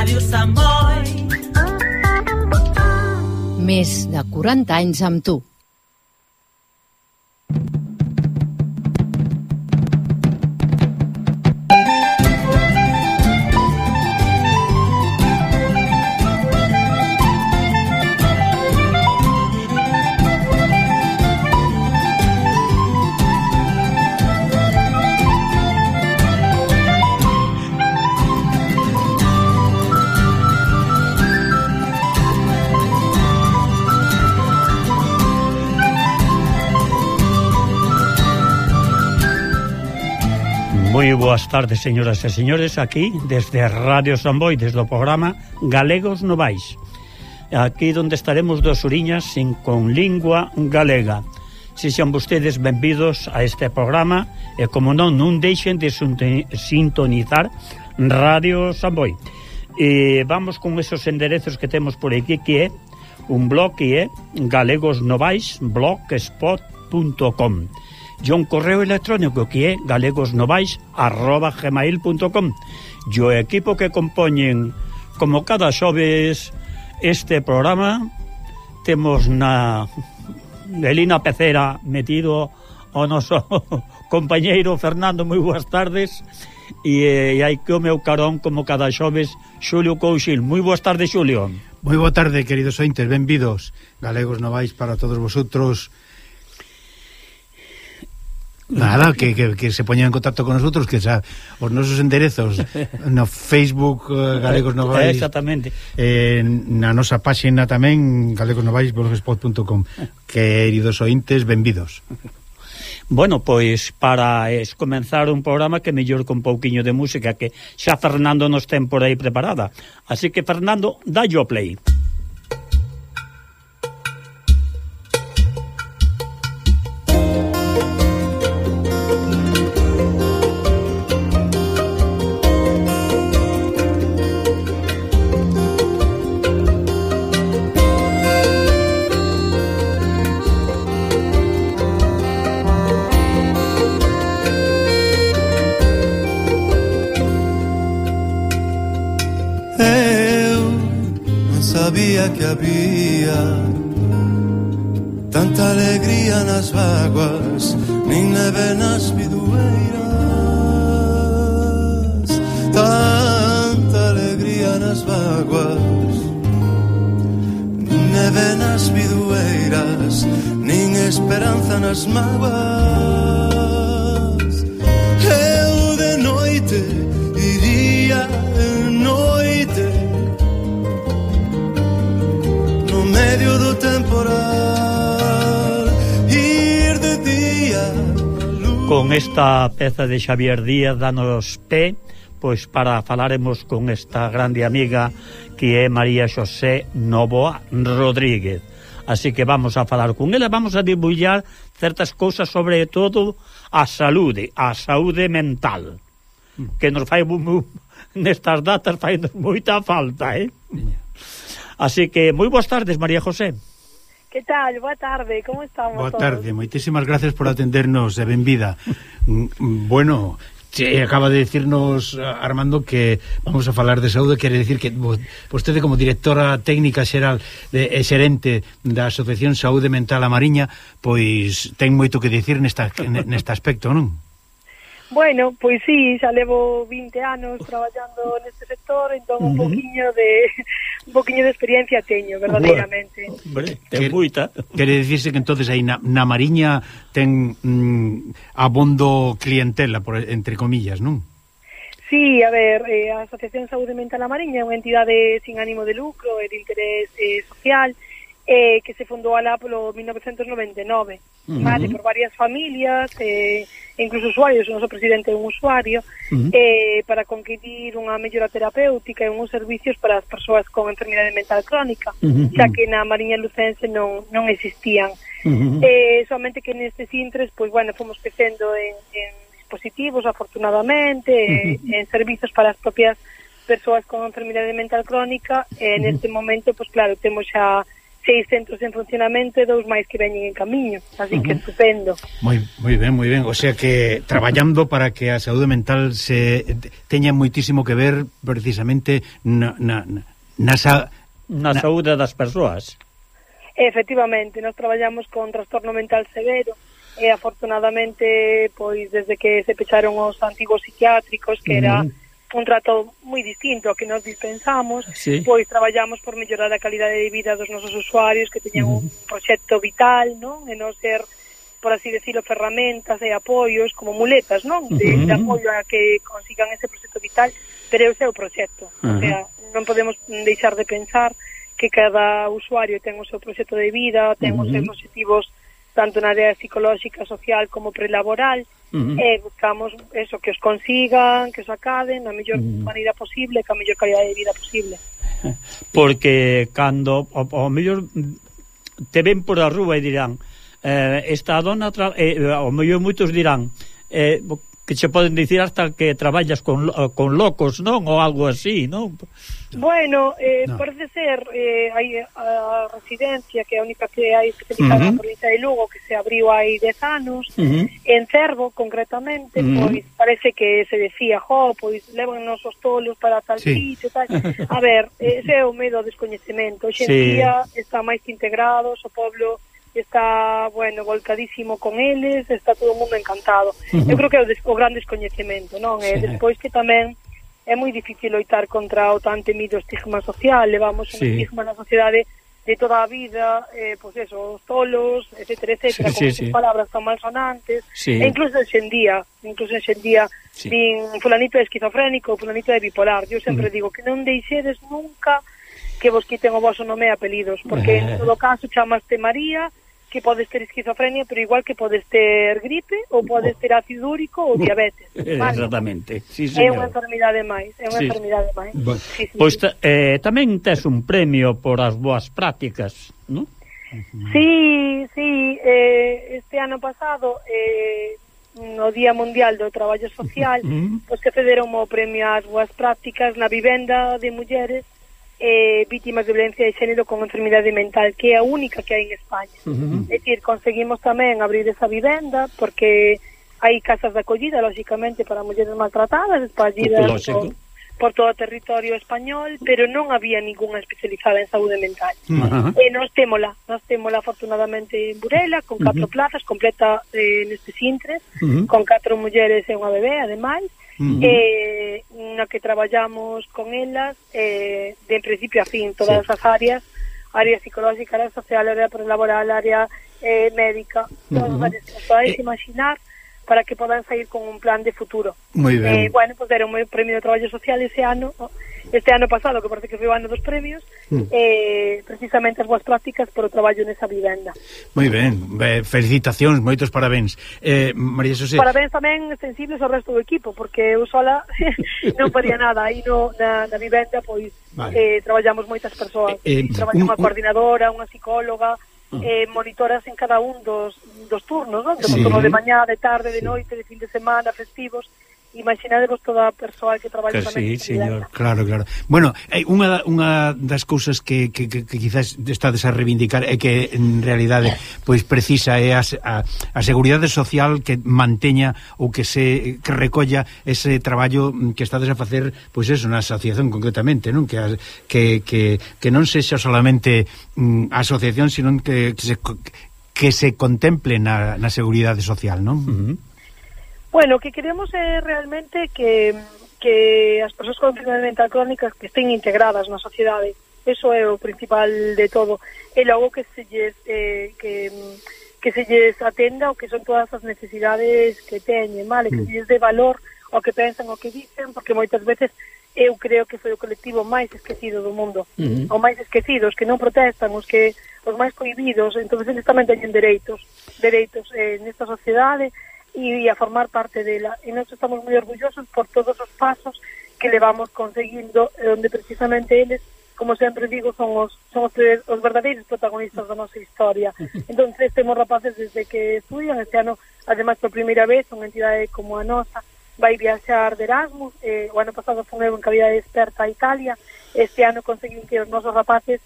Ràdio Sant Boi. Més de 40 anys amb tu. Moi boas tardes, señoras e señores, aquí desde Radio San Boi, desde o programa Galegos Novais. Aquí onde estaremos 2 horiñas con lingua galega. Sexan vostedes benvidos a este programa e, como non deixen de sintonizar Radio San Boi. E vamos con esos enderezos que temos por aquí, que é un blog que é galegosnovais.blogspot.com. E un correo electrónico que é galegosnovais@gmail.com. E o equipo que compoñen, como cada xoves, este programa, temos na Elina Pecera metido o noso compañeiro Fernando. Moi boas tardes. E hai que o meu carón, como cada xoves, Xulio Couchil. Moi boas tardes, Xulio. Moi boa tarde, queridos ointes, benvidos. Galegos Novais para todos vosotros. Nada, que se poñan en contacto con nosotros, que xa os nosos enderezos no Facebook Galegos Novais, exactamente, na nosa páxina tamén galegosnovais.blogspot.com. Queridos ointes, benvidos. Bueno, pois para comenzar un programa que mellor con pouquiño de música, que xa Fernando nos ten por aí preparada. Así que, Fernando, dalle o play. Que había tanta alegría nas vaguas, nin neve nas bidueiras. Tanta alegría nas vaguas, nin neve nas bidueiras, nin esperanza nas mágoas. Eu de noite iría noite medio do temporal, ir de día. Con esta peza de Xavier Díaz danos pé, pois para falaremos con esta grande amiga que é María Xosé Novoa Rodríguez. Así que vamos a falar con ela, vamos a divulgar certas cousas, sobre todo a saúde mental, que nos fai nestas datas fai moita falta, Así que, moi boas tardes, María José. Que tal? Boa tarde, como estamos? Boa tarde, moitísimas gracias por atendernos e benvida. Bueno, acaba de decirnos Armando que vamos a falar de saúde, quere decir que vostede, como directora técnica xeral e xerente da Asociación Saúde Mental A Mariña, pois ten moito que dicir neste aspecto, non? Bueno, pois sí, xa levo 20 anos traballando neste sector, entón un poquinho de experiencia teño, verdadeiramente. Hombre, ten moita. Quere dicirse que entonces aí na Mariña ten abondo clientela, entre comillas, non? Sí, a ver, a Asociación Saúde Mental A Mariña é unha entidade sin ánimo de lucro e de interés social, que se fundou alá polo 1999, vale, por varias familias, incluso usuarios, o noso presidente é un usuario, para conquistir unha mellora terapéutica e uns servicios para as persoas con enfermidade mental crónica, xa que na Mariña Lucense non existían. Somente que nestes intres, pois, bueno, fomos crecendo en dispositivos, afortunadamente, en servizos para as propias persoas con enfermidade mental crónica, e neste momento, pois claro, temos xa 6 centros en funcionamento e 2 máis que veñen en camiño, así que estupendo. Moi ben, o sea que traballando para que a saúde mental se teña moitísimo que ver precisamente na saúde das persoas. Efectivamente, nós traballamos con trastorno mental severo e afortunadamente, pois desde que se pecharon os antigos psiquiátricos, que era un trato moi distinto ao que nos dispensamos, pois traballamos por mellorar a calidade de vida dos nosos usuarios que teñan un proxecto vital, non? E non ser, por así decirlo, ferramentas e apoios como muletas, non? De apoio a que consigan ese proxecto vital, pero é o seu proxecto. O sea, non podemos deixar de pensar que cada usuario ten o seu proxecto de vida, ten os seus objetivos tanto na área psicolóxica, social como prelaboral, e buscamos eso, que os consigan, que os acaden na mellor maneira posible, ca mellor calidade de vida posible. Porque cando ao mellor te ven por a rúa e dirán esta dona, ao mellor moitos dirán que se poden dicir hasta que traballas con locos, non? Ou algo así, non? Bueno, parece ser hai a residencia que é a única que hai especializada na provincia de Lugo, que se abriu hai 10 anos, en Cervo concretamente, pois parece que se decía, pois levannos os tolos para tal sitio, tal. A ver, ese é o medo ao descoñecemento. Hoxe en día está máis que integrados, o pueblo está, bueno, volcadísimo con eles, está todo o mundo encantado. Eu creo que é o gran descoñecemento, non? E despois que tamén é moi difícil loitar contra o tan temido estigma social, levamos un estigma na sociedade de toda a vida, pois eso, os tolos, etcétera, con esas palabras tan malsonantes, e incluso en día, din fulanito é esquizofrénico, fulanito é bipolar. Eu sempre digo que non deixedes nunca que vos quiten o vosso nome e apelidos, porque en todo caso chamaste María, que podes ter esquizofrenia, pero igual que podes ter gripe ou podes ter ácido úrico ou diabetes, vale? Exactamente, sí, é unha enfermidade máis, Pois tamén tes un premio por as boas prácticas, non? Sí, este ano pasado no Día Mundial do Traballo Social, pois que cederon o premio ás boas prácticas na vivenda de mulleres vítimas de violencia de xénero con enfermidade mental, que é a única que hai en España. É dicir, conseguimos tamén abrir esa vivenda porque hai casas de acollida, lógicamente, para mulleres maltratadas, espargidas por todo o territorio español, pero non había ninguna especializada en saúde mental. E nos témola afortunadamente en Burela, con 4 plazas, completa neste Sintres, con 4 mulleres e unha bebé, ademais, na que traballamos con elas de principio a fin, todas as área psicológica, área social, área prelaboral, área médica, todas as áreas que podáis imaginar, para que podan sair con un plan de futuro. Moi ben. Bueno, pues deron un premio de traballo social este ano pasado, que parece que foi o ano dos premios, precisamente as boas prácticas por o traballo nesa vivenda. Moi ben, felicitacións, moitos parabéns. María Xosé. Parabéns tamén sensibles ao resto do equipo, porque eu sola non podía nada, aí na vivenda, pois, traballamos moitas persoas. Traballa unha coordinadora, unha psicóloga, monitoras en cada un dos turnos, non? Temos turno de mañá, de tarde, de noite, de fin de semana, festivos. Imaginadevos toda a persoa que traballa tamén. Sí, señor. Claro. Bueno, unha das cousas que quizás estades a reivindicar é que en realidade pois precisa é a seguridade social que manteña ou que recolla ese traballo que estades a facer, pois eso, na asociación concretamente, non? Que non sexa solamente a asociación, sino que se contemple na seguridade social, non? Bueno, o que queremos é realmente que as persoas con enfermidade mental crónica que estén integradas na sociedade. Eso é o principal de todo. E logo que se lles atenda o que son todas as necesidades que teñen, vale? Que se lles dé valor ao que pensan, ao que dicen, porque moitas veces eu creo que foi o colectivo máis esquecido do mundo. O máis esquecido, os que non protestan, os máis cohibidos. Entón, eles tamén teñen dereitos nesta sociedade e a formar parte dela. E nós estamos moi orgullosos por todos os pasos que levamos conseguindo, onde precisamente eles, como sempre digo, son os verdadeiros protagonistas da nosa historia. Entón, temos rapaces desde que estudian. Este ano, ademais, por primeira vez, unha entidade como a nosa vai viaxar de Erasmus. O ano pasado foi eu en calidade experta a Italia. Este ano conseguín que os nosos rapaces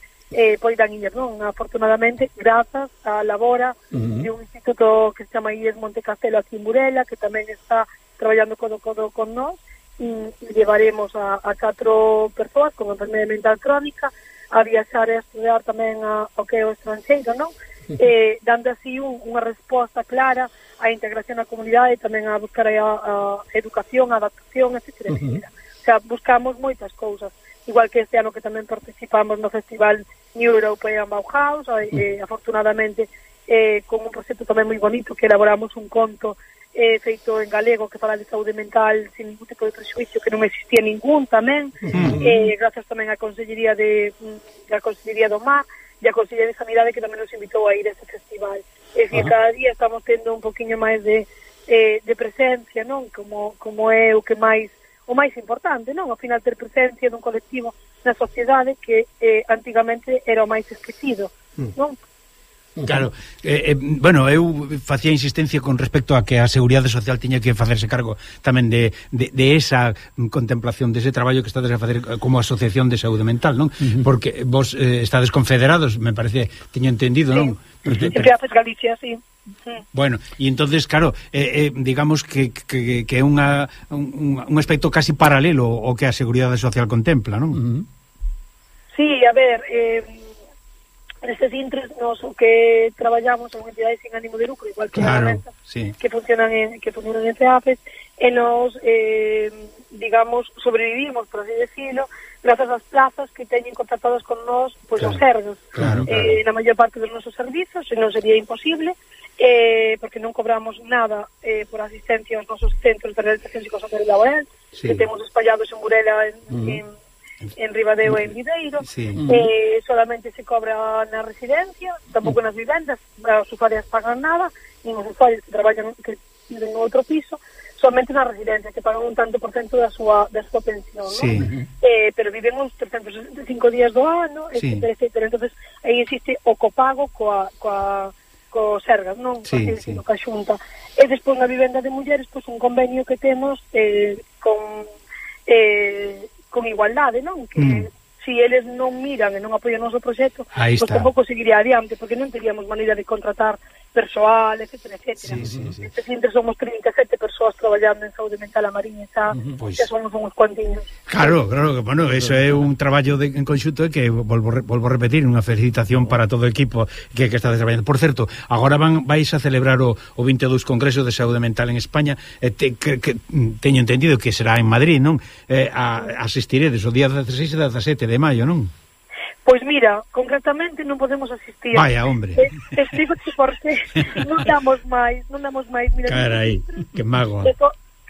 poidan ir, non? Afortunadamente, grazas á labora de un instituto que se chama IES Monte Castelo aquí en Burela, que tamén está traballando codo con nós, e llevaremos a 4 persoas con enfermedade mental crónica a viaxar e a estudiar tamén ao que é o estranxeiro, non? Dando así unha resposta clara á integración na comunidade e tamén a buscar a educación, a adaptación, etc. O sea, buscamos moitas cousas, igual que este ano que tamén participamos no Festival New European Bauhaus, afortunadamente con un proxecto tamén moi bonito que elaboramos un conto feito en galego que fala de saúde mental sin ningún tipo de prejuicio, que non existía ningún tamén, grazas tamén á Consellería do Mar e a Consellería de Sanidade que tamén nos invitou a ir a este festival. É dicir, cada día estamos tendo un poquinho máis de presencia, non? Como é o máis importante, non? Ao final ter presencia dun colectivo na sociedade que antigamente era o máis esquecido, non? Claro, bueno, eu facía insistencia con respecto a que a Seguridade Social tiña que facerse cargo tamén de esa contemplación, de ese traballo que estades a facer como asociación de saúde mental, non? Porque vos estades confederados, me parece, teño entendido, non? Entre Afes Galicia, sí. Bueno, e entonces, claro, digamos que é un aspecto casi paralelo ao que a Seguridade Social contempla, non? Sí, a ver, nestes intres nos o que traballamos son entidades sin ánimo de lucro, igual que herramientas que funcionan en CEAFES, e nos digamos sobrevivimos, por así decirlo, grazas ás plazas que teñen contratadas con nós, pois os sergos. Na maior parte dos nosos servizos, non sería imposible, porque non cobramos nada por asistencia aos nosos centros de realización psicosocial e laboral, que temos espallados en Burela, en Ribadeo e en Videiro, solamente se cobra na residencia, tampouco nas vivendas, as usuarias pagan nada, nin os usuarios que traballan, que viven no outro piso, solamente na residencia, que pagan un tanto por cento da súa pensión, ¿no? Pero viven uns 365 días do ano, etcétera. Entonces, aí existe o copago co Sergas, non? Coa Xunta. E despois na vivenda de mulleres, pois un convenio que temos con igualdade, non? Que si eles non miran e non apoian o noso proxecto, pois tampouco seguiría adiante, porque non teríamos maneira de contratar persoal, etcétera. Este centro somos 37 persoas traballando en saúde mental a Mariña, xa somos uns cuantiños. Claro, bueno, eso é un traballo en conxunto que volvo a repetir, unha felicitación para todo o equipo que está traballando. Por certo, agora vais a celebrar o 22 Congreso de Saúde Mental en España, que teño entendido que será en Madrid, non? Asistiredes o día 16 e 17 de maio, non? Pois mira, concretamente non podemos asistir. Vaya, hombre. Explico-te porque non damos máis. Mira, carai, que mágoa.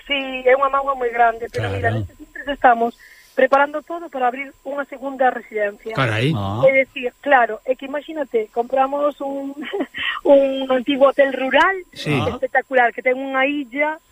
Sí, é unha mágoa moi grande, pero mira, nestes centros estamos preparando todo para abrir unha segunda residencia. Carai. É dicir, claro, é que imagínate, compramos un antigo hotel rural espectacular, que ten unha illa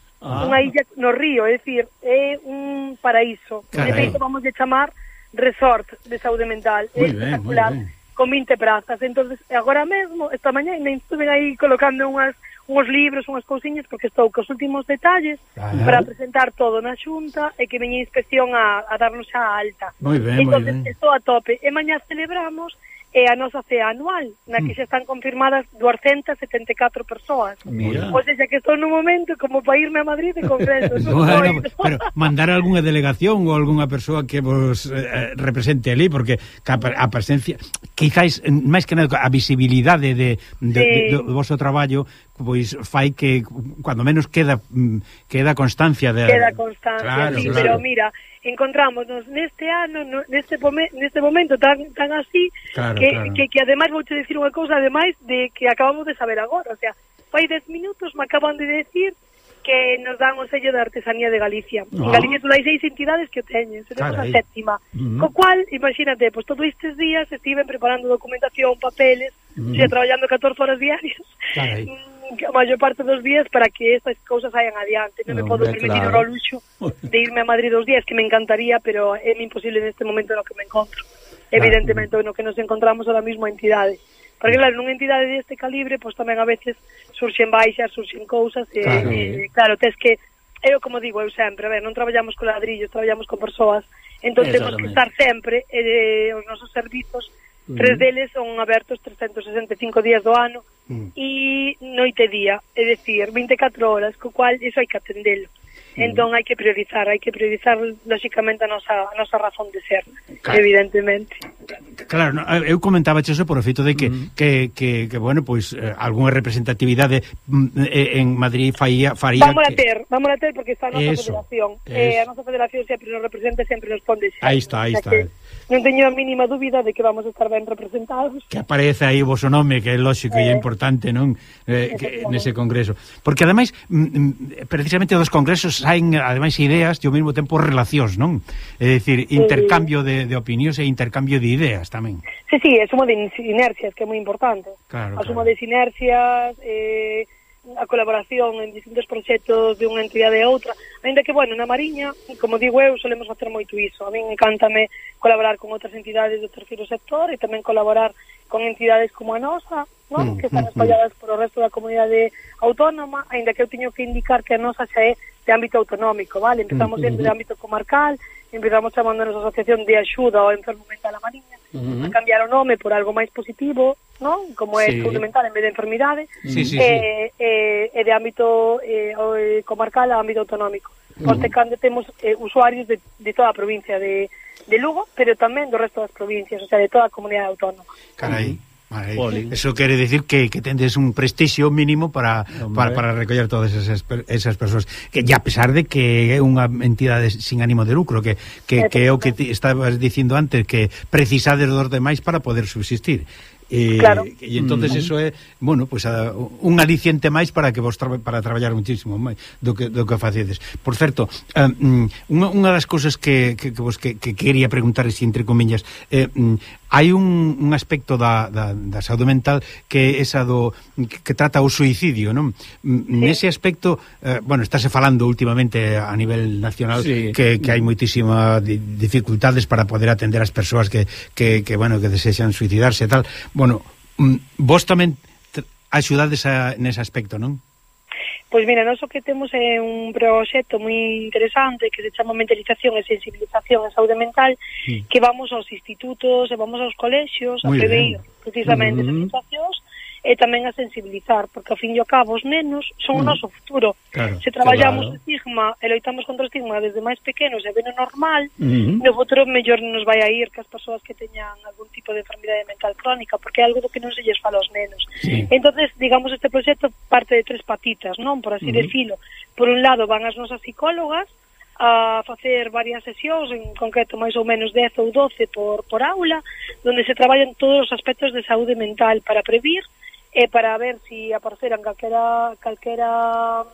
no río, é dicir, é un paraíso. De feito, vamos a chamar resort de saúde mental, é espectacular, con 20 prazas. Entonces, agora mesmo, esta mañá, estuve aí colocando uns libros, unhas cousiñas, porque estou cos últimos detalles para presentar todo na Xunta e que veña a inspección a darnos a alta. Moi ben, entonces, estou a tope. E mañá celebramos a nosa cea anual, na que xa están confirmadas 274 persoas. O sea, que estou nun momento como para irme a Madrid de congreso. Bueno, pero mandar algunha delegación ou algunha persoa que vos represente ali, porque a presencia, quizáis, máis que nada, a visibilidade do vosso traballo, pois fai que, cuando menos, queda constancia de... Queda constancia, claro. Pero mira, encontrámonos neste ano, neste momento tan así, que ademais vouche dicir unha cousa, ademais de que acabamos de saber agora, o sea, fai 10 minutos me acaban de decir que nos dan o sello de artesanía de Galicia. En Galicia só hai 6 entidades que o teñen, seremos a 7ª. Co cual, imagínate, pois todos estes días estiven preparando documentación, papeles, traballando 14 horas diarias, a maior parte dos días para que estas cousas vayan adiante. Non me podo permitir o luxo de irme a Madrid 2 días, que me encantaría, pero é imposible neste momento no que me encontro. Evidentemente, no que nos encontramos ahora mismo a entidade. Porque, claro, nunha entidade deste calibre, pois tamén a veces surxen baixas, surxen cousas, claro, tes que, eu como digo, eu sempre, a ver, non traballamos con ladrillos, traballamos con persoas, entón temos que estar sempre, os nosos servizos, 3 deles son abertos 365 días do ano e noite e día, é dicir, 24 horas, co cual iso hai que atendelo. Entón hai que priorizar lóxicamente a nosa razón de ser, evidentemente. Claro, no, eu comentaba eso por o feito de que bueno, pois algunha representatividade en Madrid faría Vamos a ter porque está a nosa federación. A nosa federación sempre nos representa, sempre nos pon de xeito. Aí está. Non teño a mínima dúbida de que vamos a estar ben representados. Que aparece aí o vosso nome, que é lógico e é importante, non? Nese congreso. Porque ademais, precisamente dos congresos saen ademais ideas e ao mesmo tempo relacións, non? É dicir, intercambio de opinións e intercambio de ideas tamén. Sí, é sumo de sinerxias, que é moi importante. Claro. Sumo de sinerxias, a colaboración en distintos proxectos de unha entidade a outra, ainda que, bueno, na Mariña, como digo eu, solemos facer moito iso. A min encántame colaborar con outras entidades do terceiro sector e tamén colaborar con entidades como a nosa, non? Que están espalladas por o resto da comunidade autónoma, ainda que eu teño que indicar que a nosa xa é de ámbito autonómico, vale? Empezamos dentro de ámbito comarcal, empezamos chamándonos Asociación de Axuda ao Enfermo Mental a Mariña, a cambiar o nome por algo máis positivo, non? Como é saúde mental en vez de enfermidade, e de ámbito comarcal a ámbito autonómico. Porque cando temos usuarios de toda a provincia de Lugo, pero tamén do resto das provincias, o sea, de toda a comunidade autónoma. Carai. Eso quere decir que tendes un prestixio mínimo para recoller todas esas persoas, que a pesar de que é unha entidade sin ánimo de lucro, que é o que estabas dicindo antes, que precisades dos demais para poder subsistir. Claro. E entonces eso é, bueno, pues un aliciente máis para que vos para traballar muchísimo máis do que facedes. Por certo, unha das cousas que quería preguntar, entre comillas, hai un aspecto da saúde mental que é esa que trata o suicidio, non? Nese aspecto, bueno, estáse falando últimamente a nivel nacional que hai moitísimas dificultades para poder atender as persoas que bueno, que desexan suicidarse e tal. Bueno, vos tamén axudades nese aspecto, non? Pois mira, nós o que temos é un proxecto moi interesante que se chama Mentalización e Sensibilización en Saúde Mental, que vamos aos institutos e vamos aos colexios a prever precisamente as sensacións e tamén a sensibilizar, porque ao fin e ao cabo os nenos son o noso futuro. Se traballamos o estigma e loitamos contra o estigma desde máis pequenos e ben o normal, no futuro mellor nos vai a ir que as persoas que teñan algún tipo de enfermidade mental crónica, porque é algo do que non se lles fala aos nenos. Entonces, digamos, este proxecto parte de 3 patitas, non? Por así decirlo. Por un lado van as nosas psicólogas a facer varias sesións, en concreto máis ou menos 10 ou 12 por aula, donde se traballan todos os aspectos de saúde mental para previr e para ver se apareceran calquera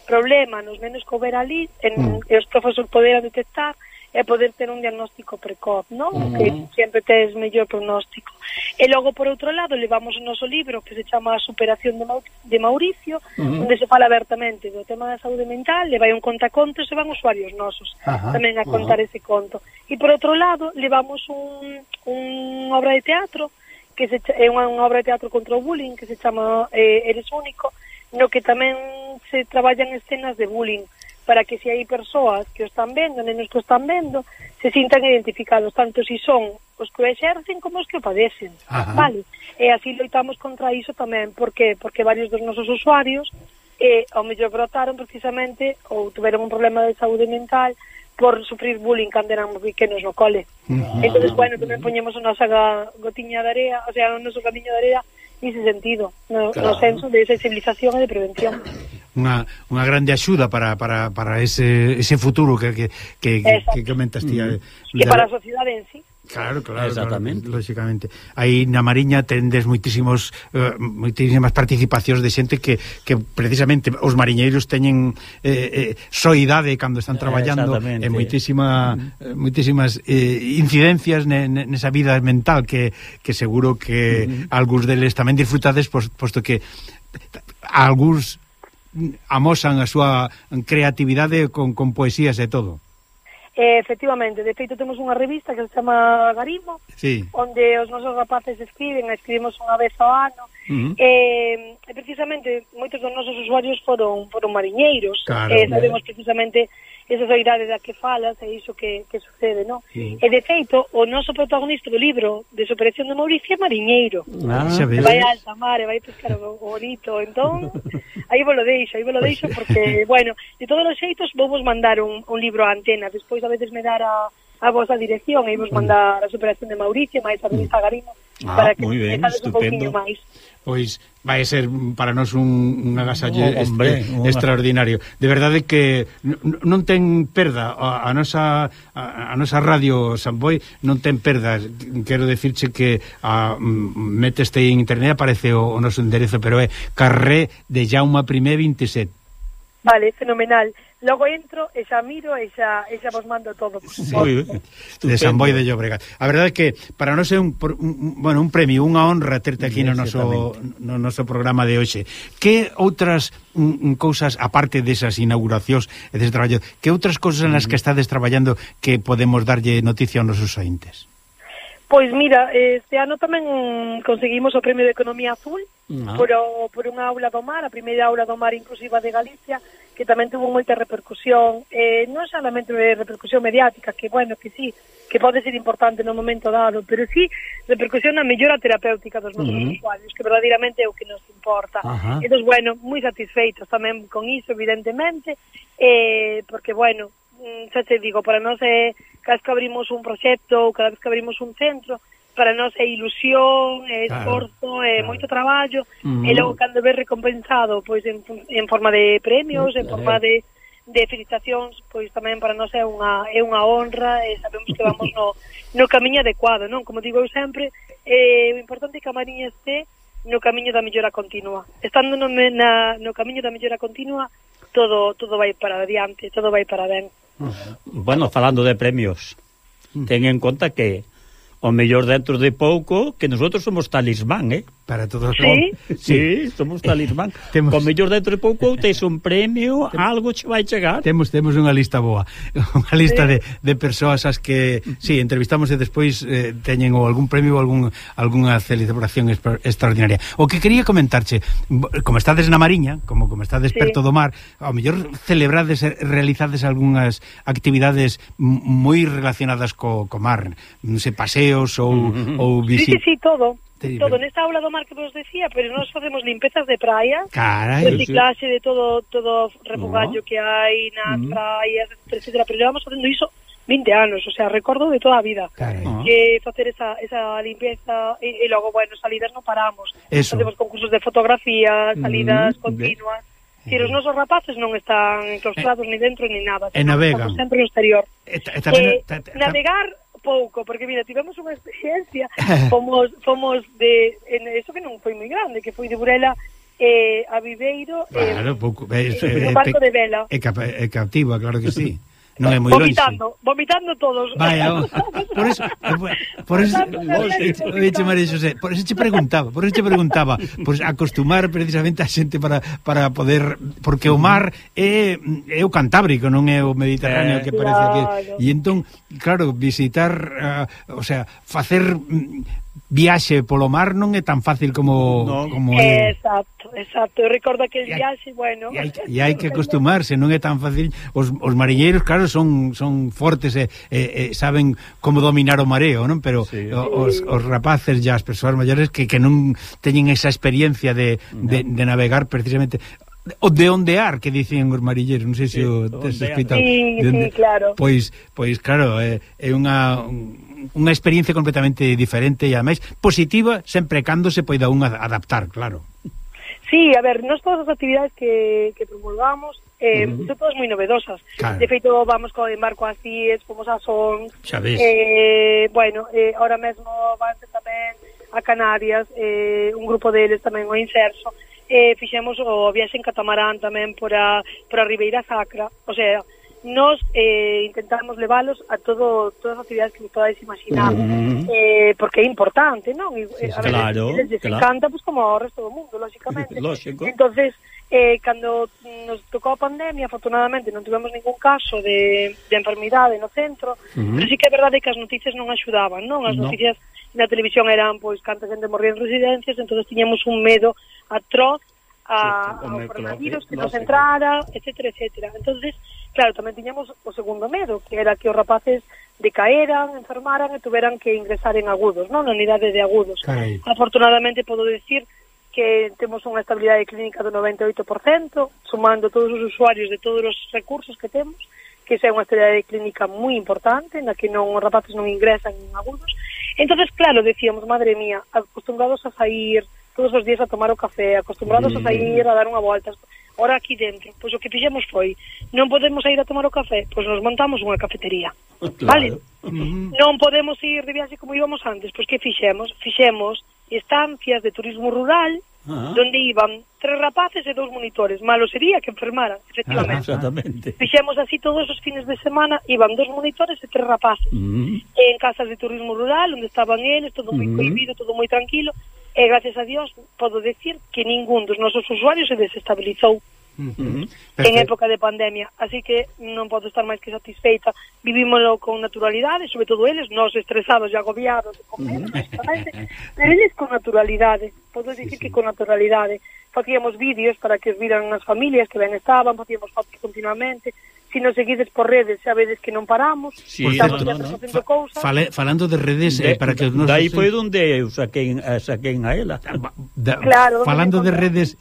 problema nos nenos que houber ali, e os profesores poderan detectar e poder ter un diagnóstico precoz, non? Que sempre tes mellor pronóstico. E logo, por outro lado, levamos o noso libro que se chama Superación de Mauricio, onde se fala abertamente do tema da saúde mental, le vai un contacontos e van usuarios nosos tamén a contar ese conto. E por outro lado, levamos unha obra de teatro, que é unha obra de teatro contra o bullying, que se chama Eres Único, no que tamén se traballan escenas de bullying, para que se hai persoas que o están vendo, nenos que o están vendo, se sintan identificados, tanto si son os que o exercen como os que o padecen, vale? E así loitamos contra iso tamén, porque varios dos nosos usuarios ao mellor brotaron precisamente ou tuveron un problema de saúde mental por sufrir bullying cando eran pequenos no cole. Entonces, bueno, tamén poñemos a nosa gotiña de area, o sea, o noso gamiño de area nese sentido, no senso de sensibilización e de prevención. Unha grande axuda para ese futuro que comentas ti. Que para a sociedade en sí. Claro, exactamente. Lógicamente. Aí na Mariña tendes moitísimas participacións de xente que precisamente os mariñeiros teñen soidade cando están traballando e moitísimas incidencias nesa vida mental que seguro que algúns deles tamén disfrutades, posto que algúns amosan a súa creatividade con poesías e todo. Efectivamente, de feito temos unha revista que se chama Garimo, onde os nosos rapaces escribimos unha vez ao ano, e precisamente moitos dos nosos usuarios foron mariñeiros, sabemos precisamente esa soidade da que falas é iso que sucede, non? E de feito, o noso protagonista do libro de Superación de Mauricio é mariñeiro. Vai a alta mar e vai pescar o bonito, entón aí vos lo deixo porque, bueno, de todos os xeitos vou vos mandar un libro a Antena, despois a veces me dar a vosa dirección e vos mandar a Superación de Mauricio máis a Luis Agarino para que me fales un pouquinho máis. Pois vai ser para nós un agasallo extraordinario. De verdade que non ten perda a nosa radio Samboy, non ten perda. Quero decirche que meteste en internet, aparece o noso enderezo, pero é Carré de Jaume I 27. Vale, fenomenal. Logo entro e xa miro e xa vos mando todo. Sí, de Samboy de Llobregat. A verdade é que para nós é un premio, unha honra terte aquí no noso programa de hoxe. Que outras cousas, aparte desas inauguracións e dese traballo, que outras cousas en las que estades traballando que podemos darlle noticia aos nosos ointes? Pois mira, este ano tamén conseguimos o Premio de Economía Azul por unha aula do mar, a primeira aula do mar inclusiva de Galicia, que tamén tuvo moita repercusión, non solamente repercusión mediática, que bueno, que sí, que pode ser importante no momento dado, pero sí repercusión na mellora terapéutica dos nosos usuarios, que verdadeiramente é o que nos importa. Entón, bueno, moi satisfeitos tamén con iso, evidentemente, porque, bueno, xa te digo, para nós é cada vez que abrimos un proxecto ou cada vez que abrimos un centro, para nós é ilusión, é esforzo, é moito traballo, e logo cando ves recompensado pois en forma de premios, en forma de felicitacións, pois tamén para nós é unha honra e sabemos que vamos no camiño adecuado, non? Como digo eu sempre, o importante é que a Mariña este no camiño da mellora continua. Estando no camiño da mellora continua, todo vai para adiante, todo vai para ben. Bueno, falando de premios, ten en conta que o mellor dentro de pouco que nosotros somos talismán, para todos. Sí, somos talismán. O mellor dentro de pouco tes un premio, algo che vai chegar. Temos unha lista boa, unha lista de persoas as que entrevistamos e despois teñen ou algún premio ou algunha celebración extraordinaria. O que quería comentarche, como estades na Mariña, como estades perto do mar, ao mellor celebrades, realizades algunhas actividades moi relacionadas co mar, non sei, paseos ou visitas. Sí, todo. Todo nesta aula do mar que vos decía, pero nós facemos limpezas de praia, reciclaxe de todo refogallo que hai nas praias, etcétera, pero levamos facendo iso 20 anos, o sea, recordo de toda a vida que facer esa limpeza e logo, bueno, salidas non paramos. Facemos concursos de fotografía, salidas continuas. Si os nosos rapaces non están enclaustrados ni dentro ni nada, navegan sempre no exterior. Navegar pouco, porque mira, tivemos unha experiencia, fomos eso que non foi moi grande, que foi de Burela a Viveiro, pouco, no barco de vela. É captiva, claro que sí. Non é moi longe. Vomitando todos. Vaya, por eso María Xosé, por eso che preguntaba, pois acostumar precisamente a xente para poder, porque o mar é o Cantábrico, non é o Mediterráneo que parece que. E entón, claro, visitar, o sea, facer viaxe polo mar non é tan fácil como é. Exacto. Eu recordo aquel viaxe, bueno. E hai que acostumarse, non é tan fácil. Os mariñeiros, claro, son fortes e saben como dominar o mareo, non? Pero os rapaces e as persoas maiores que non teñen esa experiencia de navegar precisamente o de ondear, que dicen os marilleros, non sei se o tes escrito. Sí, claro. Pois claro, é unha experiencia completamente diferente e ademais positiva, sempre cando se poida unha adaptar, claro. Sí, a ver, nós todas as actividades que promulgamos son todas moi novedosas. Claro. De feito, vamos en barco a Cies, fomos a Son, bueno, ahora mesmo vanse tamén a Canarias, un grupo deles tamén o Inserso, fixemos o viaxe en catamarán tamén por a Ribeira Sacra, o sea, nos intentamos levalos a todas as actividades que podáis imaginar, porque é importante, non? Claro, les encanta, pues, como ao resto do mundo, lógicamente. Entonces, cando nos tocou a pandemia, afortunadamente non tivemos ningún caso de enfermidade no centro, pero sí que é verdade que as noticias non axudaban, non? As noticias na televisión eran, pois, canta xente morría en residencias, entonces tiñamos un medo atroz ao coronavirus que nos entrara, etcétera. Entonces, claro, tamén tiñamos o segundo medo, que era que os rapaces decaeran, enfermaran e tuveran que ingresar en agudos, non? Na unidade de agudos. Carai. Afortunadamente podo decir que temos unha estabilidade clínica do 98%, sumando todos os usuarios de todos os recursos que temos, que esa é unha estabilidade clínica moi importante, na que os rapaces non ingresan en agudos. Entonces, claro, decíamos, madre mía, acostumbrados a sair todos os días a tomar o café, acostumbrados a sair a dar unha volta, ahora aquí dentro, pois o que fixemos foi, non podemos ir a tomar o café, pois nos montamos unha cafetería, vale? Non podemos ir de viaxe como íbamos antes, pois que fixemos? Fixemos estancias de turismo rural, donde iban 3 rapaces e 2 monitores. Malo sería que enfermaran, efectivamente. Exactamente. Fixemos así todos os fines de semana, iban 2 monitores e 3 rapaces. En casas de turismo rural, onde estaban eles, todo moi cohibido, todo moi tranquilo, e gracias a Dios podo decir que ningún dos nosos usuarios se desestabilizou en época de pandemia, así que non podo estar máis que satisfeita. Vivímoslo con naturalidade, sobre todo eles, nós estresados e agobiados de comer, pero eles con naturalidade, podo dicir que con naturalidade. Facíamos vídeos para que os viran as familias que ben estaban, facíamos fotos continuamente. Si nos seguides por redes, xa vedes que non paramos, estamos facendo cousas. Falando de redes, para que nos... Daí foi onde eu saquei a ela. Claro, falando de redes,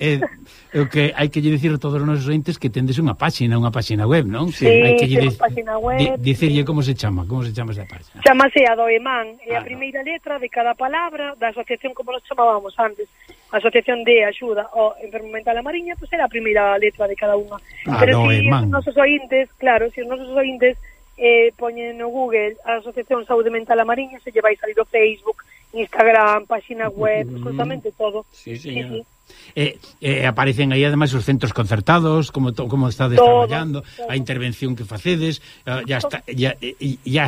o que hai que lle dicir a todos os nosos entes que tendes unha páxina web, non? Sí, hai que temos páxina web. Dicirlle como se chama esa páxina. Chámase Adoemán, é a primeira letra de cada palabra da asociación, como nos chamábamos antes, a Asociación de Axuda ao Enfermo Mental a Mariña, pois era a primeira letra de cada unha. Pero si os nosos ointes, claro, si os nosos ointes poñen no Google a Asociación Saúde Mental a Mariña, se lle vai salir o Facebook, Instagram, páxina web, absolutamente todo. Sí, señor. Aparecen aí ademais os centros concertados, como estades traballando, a intervención que facedes, ya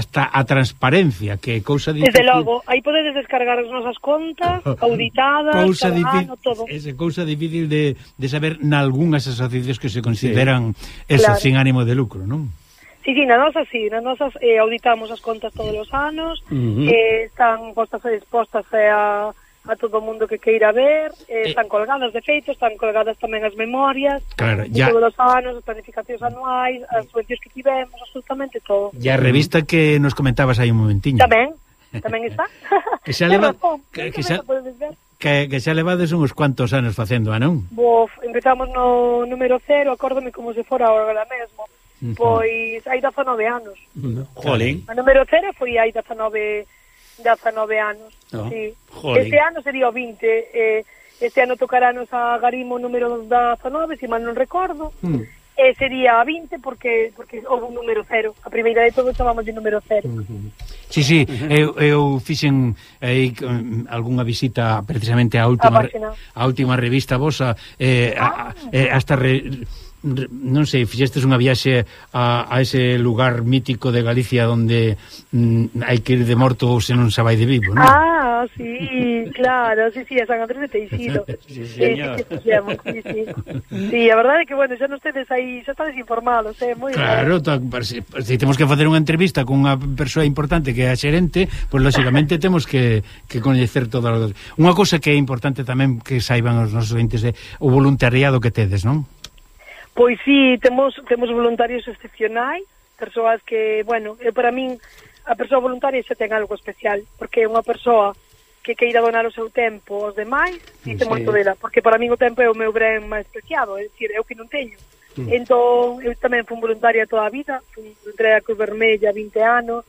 está a transparencia, que é cousa difícil. Desde logo, aí podedes descargar as nosas contas auditadas, todo. É cousa difícil de saber nalgúnas asociacións que se consideran sin ánimo de lucro, non? Sí, na nosas auditamos as contas todos os anos, están postas e expostas a todo o mundo que queira ver, están colgadas de feito, están colgadas tamén as memorias, claro, de todos os anos, as planificacións anuais, as subvencións que tivemos, absolutamente todo. E a revista que nos comentabas aí un momentiño. Tamén está. Que xa levades uns cuantos anos facendo, non? Empezamos no número 0, acórdome como se fora agora mesmo. Pois hai 19 anos. Jolín. O número 0 foi hai 19 anos. Sí. Este ano sería o 20. Este ano tocarános a Garimo número 19, se mal non recordo. Sería a 20 porque houve un número 0. A primeira de todo chamamos de número 0. Sí, eu fixen aí algunha visita precisamente á última revista vosa, hasta non sei, fixestes unha viaxe a ese lugar mítico de Galicia onde hai que ir de morto ou se non se vai de vivo, non? Sí, claro, sí, a San Andrés de Teixido. Sí, señor. Sí, a verdade é que, bueno, xa non tedes aí, xa estades informados, moi claro, se temos que facer unha entrevista con unha persoa importante que é a xerente, pois lógicamente temos que coñecer todas as... Unha cousa que é importante tamén que saiban os nosos entes é o voluntariado que tedes, non? Pois sí, temos voluntarios excepcionais, persoas que, bueno, para min a persoa voluntaria xa ten algo especial, porque é unha persoa que queira donar o seu tempo aos demais, dice moito dela, porque para min o tempo é o meu ben máis preciado, é dicir, é o que non teño. Entón, eu tamén fui voluntaria toda a vida, fui voluntaria da Cruz Vermella 20 anos,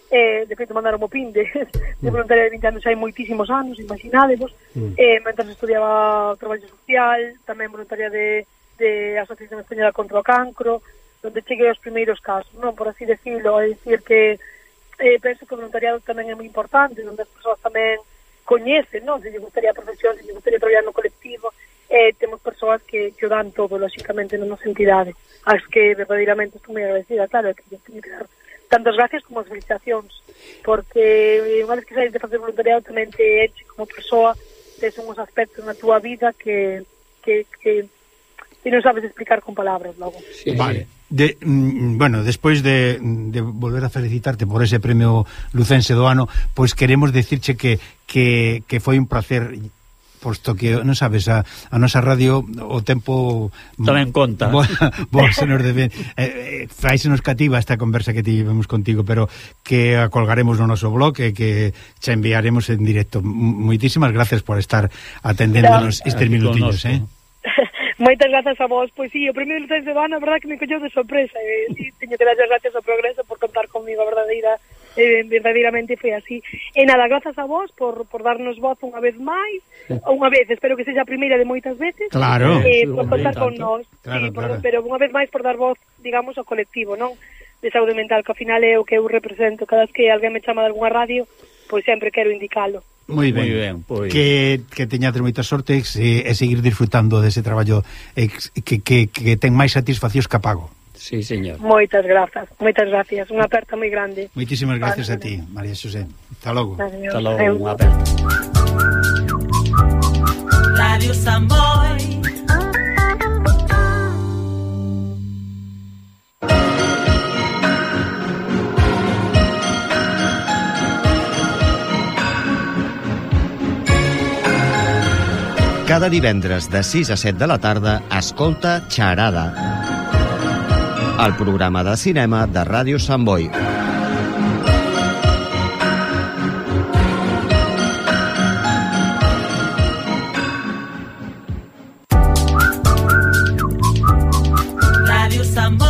de feito mandaron o pin de voluntaria de 20 anos hai moitísimos anos, imaginádevos, mentre estudiaba traballo social, tamén voluntaria de Asociación Española contra o Cancro, onde cheguei aos primeiros casos, non, por así decirlo, é dicir que penso que o voluntariado tamén é moi importante, onde as persoas tamén coñecen, non, se lle gustaría a profesión, se lle gustaría traballar no colectivo, temos persoas que o dan todo, lógicamente, na nosa entidade, as que verdadeiramente estou moi agradecida, claro, que lle teño que dar tantas gracias como as felicitacións, porque unha vez que saís de facer voluntariado tamén te enche como persoa, tes uns aspectos na túa vida que non sabes explicar con palabras logo. Sí, vale. Bueno, despois de volver a felicitarte por ese premio lucense do ano, pois queremos decirche que foi un placer posto que, non sabes, a nosa radio o tempo tamén conta. Se nos debe faísenos cativa esta conversa que tivemos contigo, pero que a colgaremos no noso blog e que che enviaremos en directo. Moitísimas gracias por estar atendéndonos estes minutillos, Moitas grazas a vos. Pois sí, o primeiro lunes de ano, a verdad que me colleu de sorpresa, sí, teño que dar gracias ao Progreso por contar comigo, verdadeiramente foi así. E nada, grazas a vos por darnos voz unha vez máis, espero que sexa a primeira de moitas veces. Claro. Por contar con nós, claro, sí, claro. Pero unha vez máis por dar voz, digamos, ao colectivo, non? De saúde mental, que ao final é o que eu represento. Cada vez que alguén me chama de algunha radio, pois sempre quero indicalo. Moi ben, pois. Que teñades moita sorte e seguir disfrutando dese traballo que ten máis satisfaccións que a pago. Sí, señor. Moitas grazas. Unha aperta moi grande. Moitísimas gracias a ti, María Xosé. Hasta logo. Hasta logo, unha aperta. Radio Samboy. Cada divendres de 6 a 7 de la tarda escolta Xarada, el programa de cinema de Ràdio Sant Boi. Ràdio Sant Boi.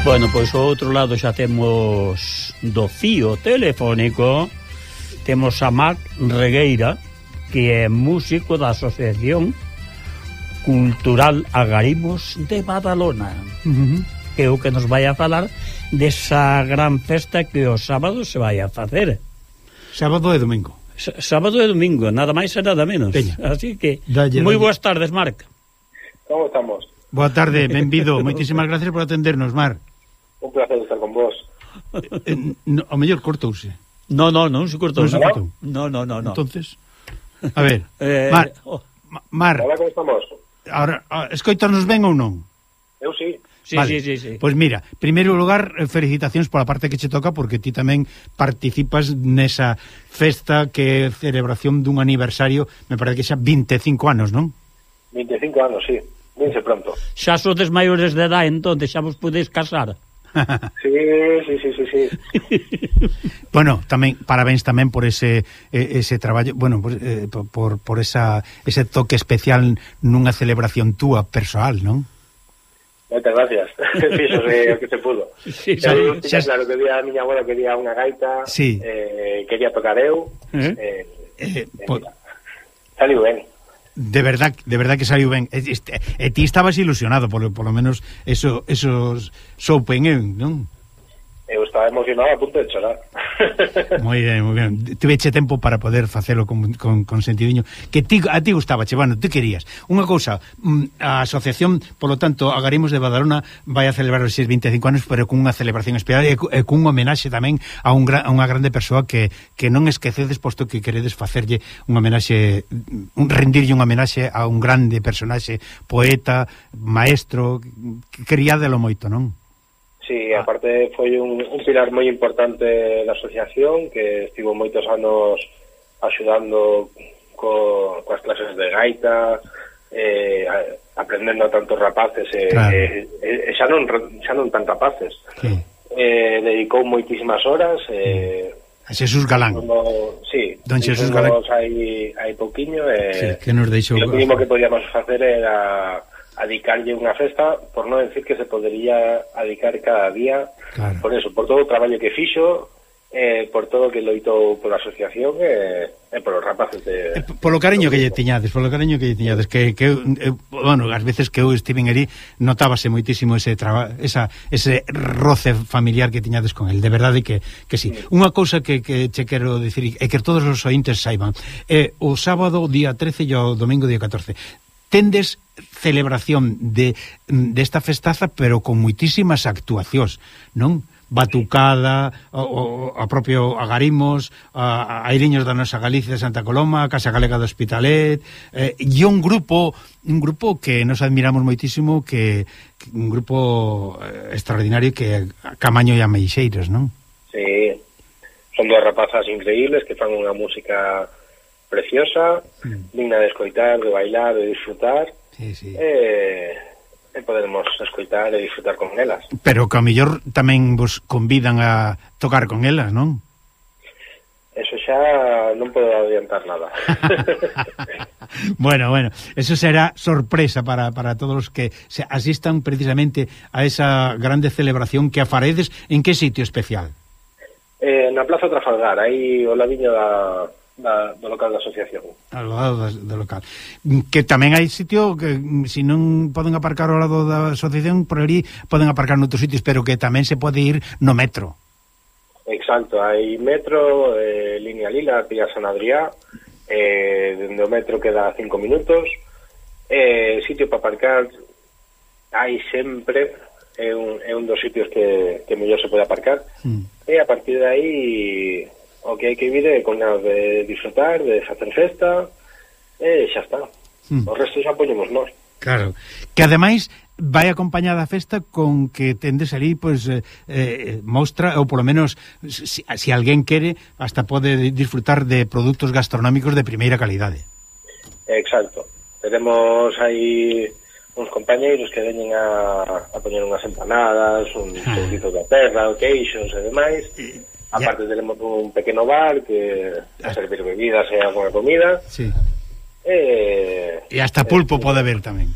Bueno, pois ao outro lado xa temos do fío telefónico, temos a Marc Regueira, que é músico da Asociación Cultural Agarimos de Badalona, que é o que nos vai a falar desa gran festa que o sábado se vai a facer. Sábado e domingo. Sábado e domingo, nada máis e nada menos. Peña. Así que, moi boas tardes, Marc. Como estamos? Boa tarde, benvido. Moitísimas gracias por atendernos, Mar. Un placer estar con vos. O mellor cortouse. Non se cortou. Non. Entonces, a ver, Mar. Hola, como estamos? Ahora, escoítanos ben ou non? Eu sí. Sí, vale. sí. Pois mira, primeiro lugar, felicitacións pola parte que che toca, porque ti tamén participas nesa festa que é celebración dun aniversario, me parece que xa 25 anos, non? 25 anos, sí. Vinse pronto. Xa sodes maiores de edad, entón, xa vos podeis casar. Sí. Bueno, tamén parabéns tamén por ese traballo, bueno, por ese toque especial nunha celebración túa persoal, non? Moitas gracias. Fíxose o que se pudo. Sí, Eu tiña claro que a miña abuela quería unha gaita, Sí. Quería tocar eu, Por- saliu ben. De verdad que saiu ben. E ti estabas ilusionado, por lo menos eso soupen eu, non? Eu estaba emocionado a punto de chorar. Moi ben. Tiveche tempo para poder facelo con sentidiño. Que a ti gustabache, bueno, ti querías. Unha cousa, a asociación, polo tanto, Agarimos de Badalona vai a celebrar os 25 anos, pero cunha celebración especial e cun homenaxe tamén a unha grande persoa que non esquecedes, posto que queredes facerlle un homenaxe, rendirlle un homenaxe a un grande personaxe, poeta, maestro, que queríadelo moito, non? Sí, aparte foi un pilar moi importante da asociación, que estivo moitos anos axudando coas clases de gaita, aprendendo a tantos rapaces, Claro. xa non tan rapaces. Sí. Dedicou moitísimas horas, A Xesús Galán. Sí, Don Xesús Galán. hai pouquiño, Sí, que nos deixou. e o mínimo que podíamos facer era adicarlle unha festa, por non decir que se podería adicar cada día, Claro. por eso, por todo o traballo que fixo, por todo o que loitou pola asociación e polos rapaces de... Polo cariño que lle tiñades, que bueno, as veces que eu estiven ali notábase moitísimo ese roce familiar que tiñades con el, de verdade que sí. Unha cousa que che quero dicir, é que todos os ointes saiban, o sábado día 13 e o domingo día 14 tendes celebración desta festaza, pero con moitísimas actuacións, non? Batucada, a propio Agarimos, a Airiños da nosa Galicia de Santa Coloma, a Casa Galega do Hospitalet, e un grupo que nos admiramos moitísimo, que un grupo extraordinario, que Camaño e Ameixeiras, non? Sí, son dúas rapazas increíbles que fan unha música preciosa, digna de escoitar, de bailar, de disfrutar. Sí. E podemos escoitar e disfrutar con elas. Pero que a mellor tamén vos convidan a tocar con elas, non? Eso xa non podo adiantar nada. Bueno, eso será sorpresa para todos os que se asistan precisamente a esa grande celebración que a faredes. En que sitio especial? Na Plaza Trafalgar, aí o ladiño do local da asociación. Ao lado do local. Que tamén hai sitio que, se non poden aparcar ao lado da asociación, por ali poden aparcar noutros sitios, pero que tamén se pode ir no metro. Exacto, hai metro, línea lila, Pía San Adrià, dende o metro queda 5 minutos, sitio para aparcar hai sempre, é un dos sitios que mellor se pode aparcar, e a partir de aí o que hai que vir é con ganas de disfrutar, de facer festa, e xa está. O resto xa poñemos nós. Claro, que ademais vai acompañada a festa con que tendes ali, pois, mostra, ou polo menos, se alguén quere, hasta pode disfrutar de produtos gastronómicos de primeira calidade. Exacto. Tenemos aí uns compañeiros que veñen a poñer unhas empanadas, uns pouquitos da terra, queixos e demais. Aparte tenemos un pequeno bar que a servir bebidas e alguna comida. Sí. E hasta pulpo pode haber tamén.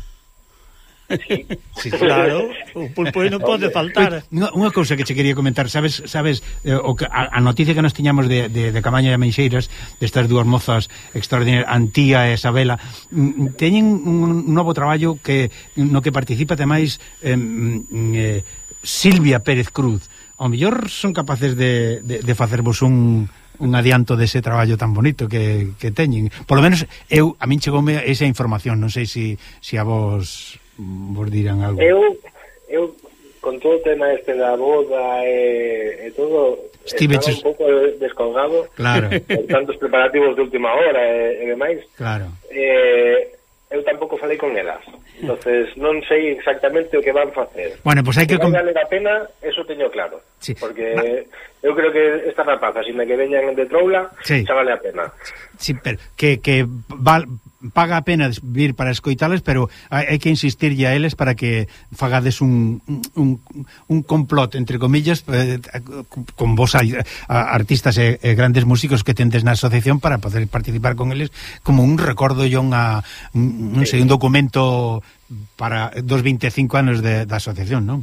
Sí, claro, o pulpo non pode faltar. Unha cousa que che quería comentar, sabes a noticia que nos tiñamos de Camaño e Ameixeiras, destas dúas mozas extraordinarias, Antía e Isabela, teñen un novo traballo no que participa ademais Silvia Pérez Cruz. Ao mellor son capaces de facervos un adianto dese traballo tan bonito que teñen. Por lo menos a min chegoume esa información, non sei se a vos dirán algo. Eu con todo o tema este da boda e todo, estaba un pouco descolgado, claro, con tantos preparativos de última hora e demais. Claro. Eu tampouco falei con elas, entonces non sei exactamente o que van facer. Bueno, pues hai que vai valer a pena, eso teño claro, sí. Porque eu creo que esta rapaza, sin que veñan de troula, xa vale a pena. Sí, pero que paga a pena vir para escoitalas, pero hai que insistirlle a eles para que fagades un complot, entre comillas, con vos artistas e grandes músicos que tendes na asociación para poder participar con eles como un recordo e un documento para dos 25 anos da asociación, non?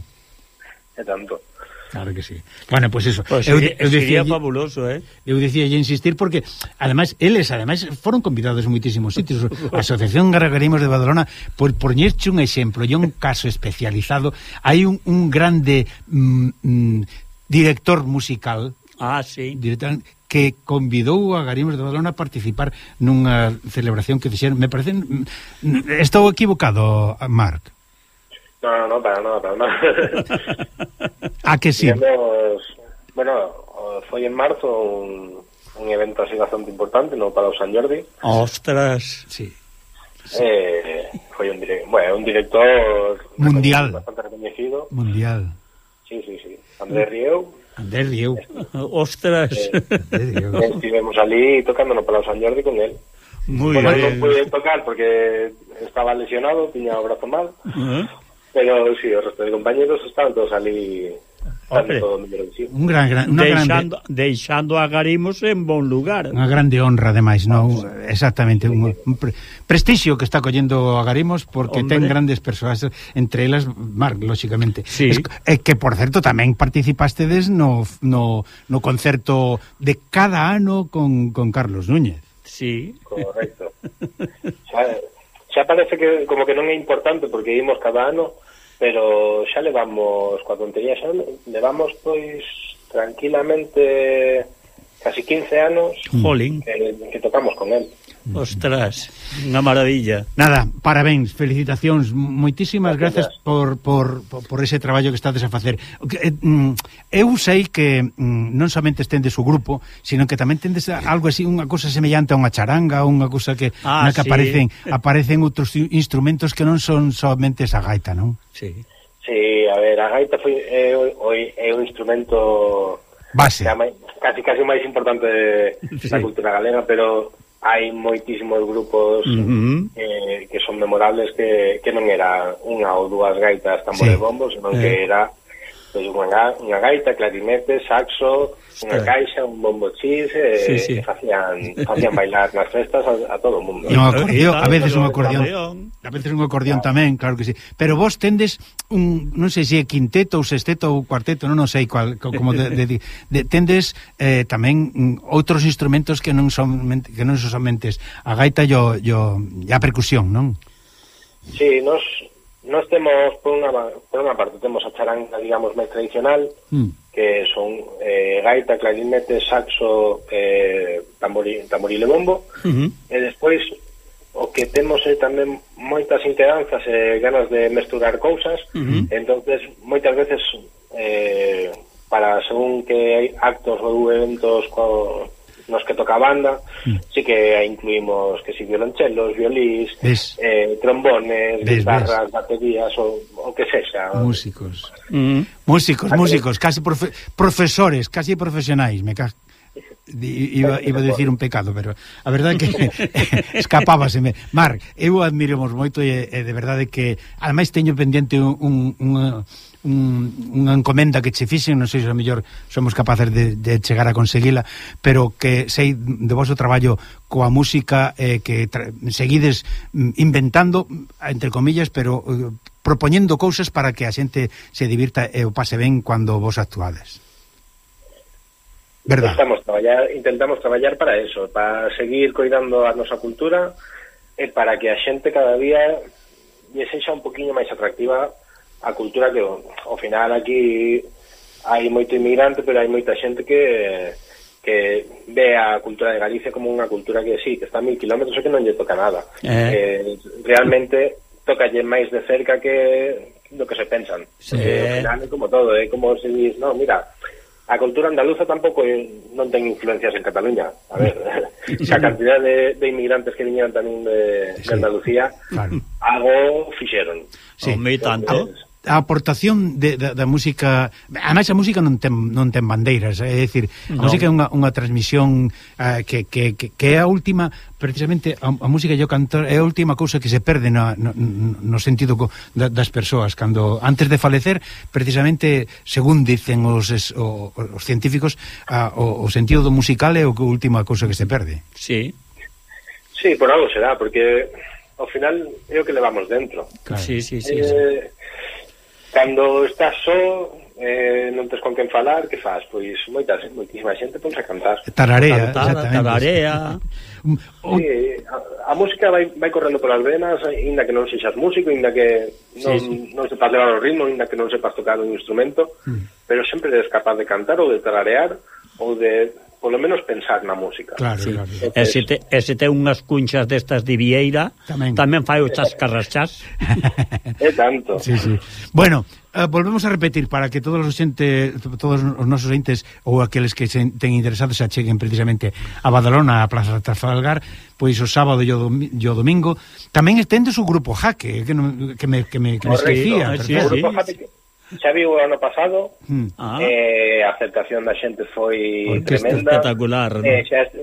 É tanto. Claro que sí. Bueno, pues eso. Pues sería fabuloso, Eu dicíalle insistir porque, ademais, eles foron convidados en moitísimos sitios. A Asociación Gargarimos de Badalona, por poñerche un exemplo e un caso especializado, hai un grande director musical, sí, que convidou a Garimos de Badalona a participar nunha celebración que fixeron. Me parece... Estou equivocado, Marc? No, para nada. Que sí? Bueno, foi en marzo un evento así bastante importante no Palau Sant Jordi. Ostras, sí. Foi un director mundial, bastante reconocido. Mundial. Sí. Andrés Rieu. Ostras. Estivemos ali tocando no Palau Sant Jordi con él. Muy bien. Non pude tocar porque estaba lesionado, tiña o brazo mal. Pero sí, o resto de compañeros estaban todos ali. Deixando a Garimos en bon lugar. Unha grande honra, ademais, non? Exactamente, un prestixio que está collendo a Garimos porque ten grandes persoas, entre elas Marc, lóxicamente. Sí. Que, por certo, tamén participastedes no concerto de cada ano con Carlos Núñez. Sí. Correcto. Xa parece que como que non é importante porque ímos cada ano, pero xa levamos, coa tontería xa levamos pois tranquilamente casi 15 anos que tocamos con él. Ostras, unha maravilla. Nada, parabéns, felicitacións, moitísimas gracias por ese traballo que estades a facer. Eu sei que non somente estendes o grupo, sino que tamén tendes algo así, unha cousa semellante a unha charanga, unha cousa que na que aparecen outros instrumentos que non son somente esa gaita, non? Sí. Sí, a ver, a gaita é un instrumento base, casi máis importante da cultura galega, pero hai moitísimos grupos que son memorables que non era unha ou dúas gaitas tambores bombos, senón que era pues, unha gaita, clarinete, saxo, unha caixa, un bombo chis, que facían bailar nas festas a todo o mundo. A veces un acordeón tamén, claro que sí. Pero vos tendes non sei se é quinteto ou sexteto ou cuarteto, non sei cual, como tendes tamén outros instrumentos que non son somente a gaita e a percusión, non? Sí, Nos temos, por unha parte, temos a charanga, digamos, máis tradicional, que son gaita, clarinete, saxo, tamboril e bombo, e despois o que temos é tamén moitas inquedanzas e ganas de mesturar cousas, entonces moitas veces para según que hai actos ou eventos nos que toca a banda, sí que incluímos que si violonchelos, violís, trombones, guitarras, baterías o que sexa. Músicos, casi profesores, casi profesionais, me cago. Iba a decir un pecado, pero a verdade que escapábaseme. Marc, eu admiramos moito e de verdade que ademais teño pendiente unha encomenda que che fixen, non sei se a mellor somos capaces de chegar a conseguila, pero que sei de vosso traballo coa música que seguides inventando, entre comillas, pero propoñendo cousas para que a xente se divirta e o pase ben cando vos actuades. Verdad. Intentamos traballar para eso, para seguir coidando a nosa cultura e para que a xente cada día lle sexa un poquinho máis atractiva a cultura, que ao final aquí hai moito inmigrante, pero hai moita xente que ve a cultura de Galicia como unha cultura que sí, que está a 1000 kilómetros e que non lle toca nada. Realmente tocalle máis de cerca que do que se pensan. Ao final é como todo, é como se dis, no, mira, a cultura andaluza tampouco non ten influencias en Cataluña. A ver, a cantidad de inmigrantes que viñeron tamén de Andalucía, algo fixeron. Sí, tanto. a aportación da música, ademais a música non ten bandeiras, é dicir, a música é unha transmisión que é a última, precisamente a música e o cantor é a última cousa que se perde no sentido das persoas cando antes de falecer, precisamente según dicen os científicos, o sentido do musical é a última cousa que se perde. Sí. Sí, por algo será, porque ao final é o que levamos dentro. Claro. Sí. Cando estás só, non tes con quen falar, que faz? Pois moitísima xente ponse a cantar. Tararea. Sí, a música vai correndo polas venas, inda que non sexas músico, inda que non sepas levar o ritmo, inda que non sepas tocar un instrumento, pero sempre eres capaz de cantar ou de tararear ou de polo menos pensar na música. Claro, sí. Claro. E se ten unhas cunchas destas de vieira, tamén fai o chascarrachás. É tanto. Sí. Bueno, volvemos a repetir para que todos os nosos entes ou aqueles que se ten interesados se acheguen precisamente a Badalona, a Plaza de Trafalgar, pois o sábado e o domingo. Tamén tendes o grupo Jaque, que me esquecía. Sí. O grupo Jaque xa viu o ano pasado, a aceptación da xente foi tremenda, espectacular, ¿no?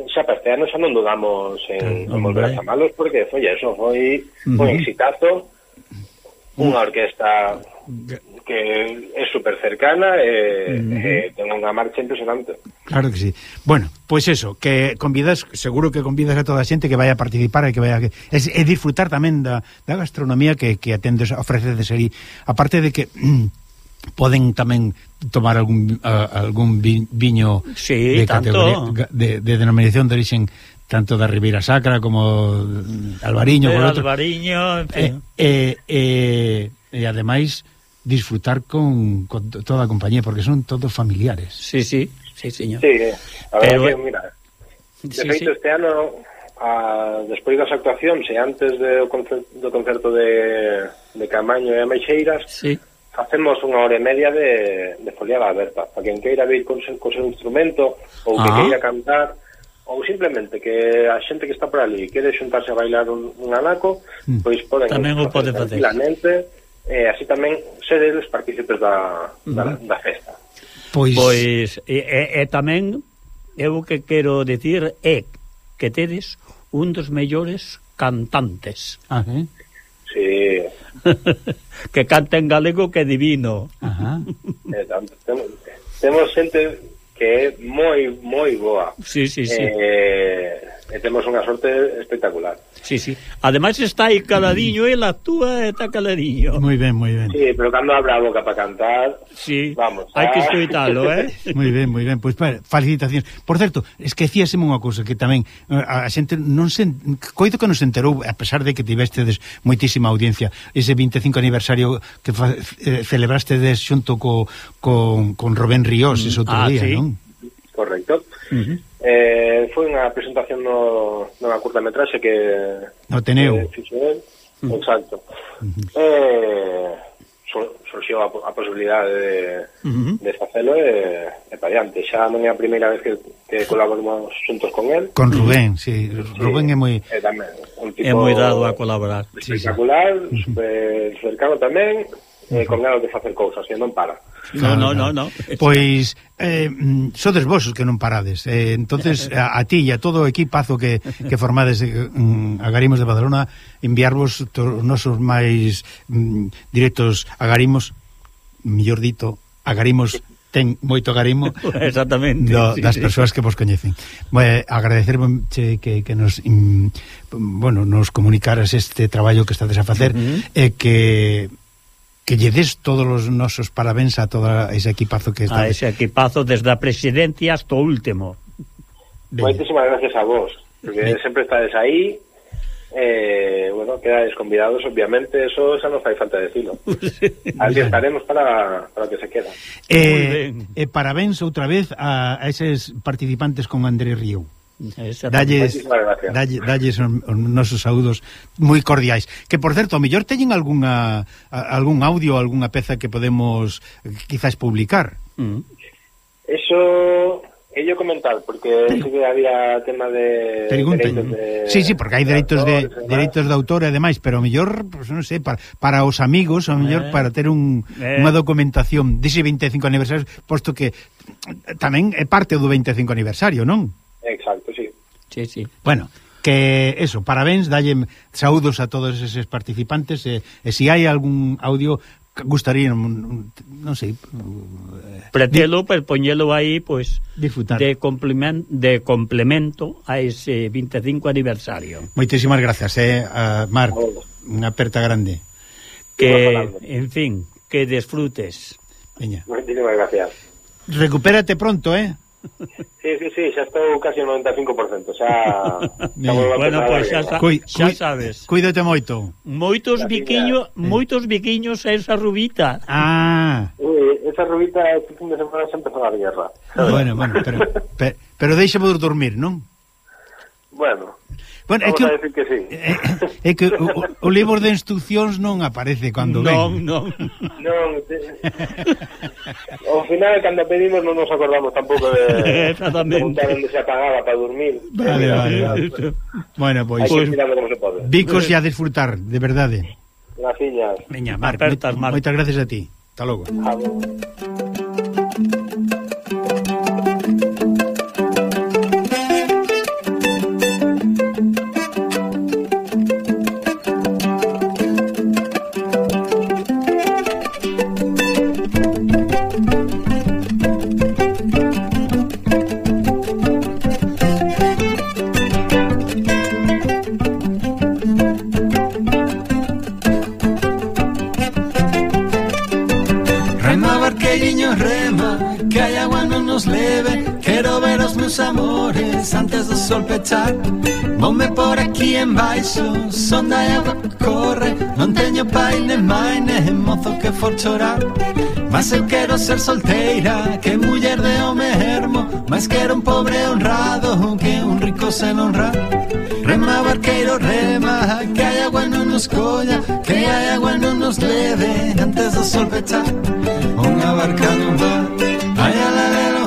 Xa para este ano xa non dudamos en volver a chamalos, porque foi un exitazo, unha orquesta que é super cercana e ten unha marcha impresionante. Claro que sí. Bueno, pois eso, que seguro que convidas a toda a xente que vai a participar e que vai a disfrutar tamén da gastronomía que atendes, ofrecedes aí, aparte de que poden tamén tomar algún viño de categoría, de denominación de orixen, tanto da Ribeira Sacra como Albariño, Albariño, e ademais disfrutar con toda a compañía, porque son todos familiares. Sí, señor. Sí, a ver, que, mira, de feito este ano, despois das actuacións e antes do concerto de Camaño e Ameixeiras, facemos unha hora e media de foliada aberta, para quen queira vir co seu instrumento ou que queira cantar, ou simplemente que a xente que está por ali quere xuntarse a bailar un anaco, pois poden tamén o pode facer tranquilamente, e así tamén ser eles partícipes da festa. Pois tamén eu que quero decir é que tedes un dos mellores cantantes. Sí. Que canta en galego que divino. Temos xente que é moi boa. Sí. E temos unha sorte espectacular. Sí. Ademais está aí caladiño, el actúa e está caladiño. Moi ben. Sí, pero cando abre a boca para cantar, vamos. Hai que escoitalo, Moi ben. Pois felicitacións. Por certo, esquecíaseme unha cousa que tamén a xente non se coido que non se enterou, a pesar de que tivestedes moitísima audiencia, ese 25 aniversario que celebrastedes xunto con Rubén Ríos ese outro día, non? Correcto. Foi unha presentación nunha curtametraxe que no Teneu. Exacto. Surxiu a posibilidade de facelo e para diante. Xa non é a primeira vez que colaboramos xuntos con él. Con Rubén, sí. Rubén é moi dado a colaborar. Espectacular, super cercano tamén, con ganas de facer cousas, que non para. No. Pois sodes vos os que non parades. Entonces a ti e a todo o equipazo que formades Agarimos de Badalona, enviarvos os nosos máis directos agarimos, mellor dito, agarimos ten moito agarimo. Exactamente. Das persoas que vos coñecen. Agradecerche que nos nos comunicaras este traballo que estades a facer e que lle des todos os nosos parabéns a todo ese equipazo que está. A ese equipazo desde a presidencia hasta o último. Moitísimas gracias a vos, porque sempre estades aí, quedades convidados, obviamente, eso xa non fai falta decirlo. Aquí estaremos para que se queda. Parabéns outra vez a eses participantes con Andrés Río. Dalles os nosos saúdos moi cordiais, que por certo, ao mellor teñen algún audio, algunha peza que podemos quizás publicar. Eso Ello comentar, porque sí que había tema de Pregunta. dereitos de... Sí, porque hai dereitos de autor e demais, pero o mellor, pues, non sei, para os amigos, o mellor para ter unha documentación dese 25 aniversario, posto que tamén é parte do 25 aniversario, non? Exacto, sí. Sí. Bueno, que eso, parabéns, dalle saúdos a todos eses participantes e se hai algún audio gustaría, non sei, pretelo, pues poñelo aí, pues, disfrutar de complemento a ese 25 aniversario. Moitísimas gracias, Mar, unha aperta grande. Que, en fin, que disfrutes. Veña. Moitísimas gracias. Recupérate pronto, Sí, xa estou casi ao 95%, xa... Bueno, pues xa sabes. Cuídate moito. Moitos biquiños a esa rubita. Esa rubita este fin de semana se empezou a guerra. Bueno, pero deixa-vos dormir, non? Bueno, é vamos que, a decir que sí. É que o libro de instruccións non aparece cando ven. Non. Ao final, cando pedimos, non nos acordamos tampouco de preguntar onde se apagaba para dormir. Vale. Bueno, pois... Hai que tirarlo como se pode. Vicos e a disfrutar, de verdade. Graciñas. Veña, Mar, moitas gracias a ti. Hasta logo. Antes do sol pechar, ponme por aquí en baixo, son da agua que corre, non teño pai nen mai nen mozo que for chorar. Mas eu quero ser solteira, que muller de home ermo, mas quero un pobre honrado, que un rico sen honrar. Rema barqueiro, rema, que hai agua non nos colla, que hai agua non nos leve, antes do sol pechar. Unha barca non va, ai alalelo,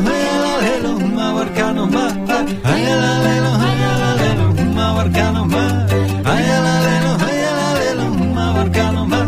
unha barca non va. Ay, alalelo, unha barca non va. Ay, alalelo, unha barca non va.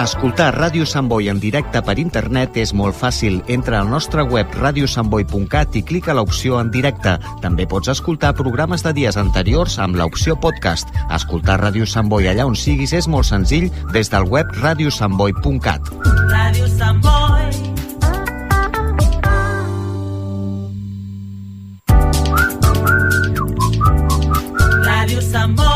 Escoltar Ràdio Sant Boi en directe per internet és molt fàcil. Entra al nostre web radiosantboi.cat i clica l'opció en directe. També pots escoltar programes de dies anteriors amb l'opció podcast. Escoltar Ràdio Sant Boi allà on siguis és molt senzill des del web radiosantboi.cat. Ràdio Sant Boi. Ràdio Sant Boi.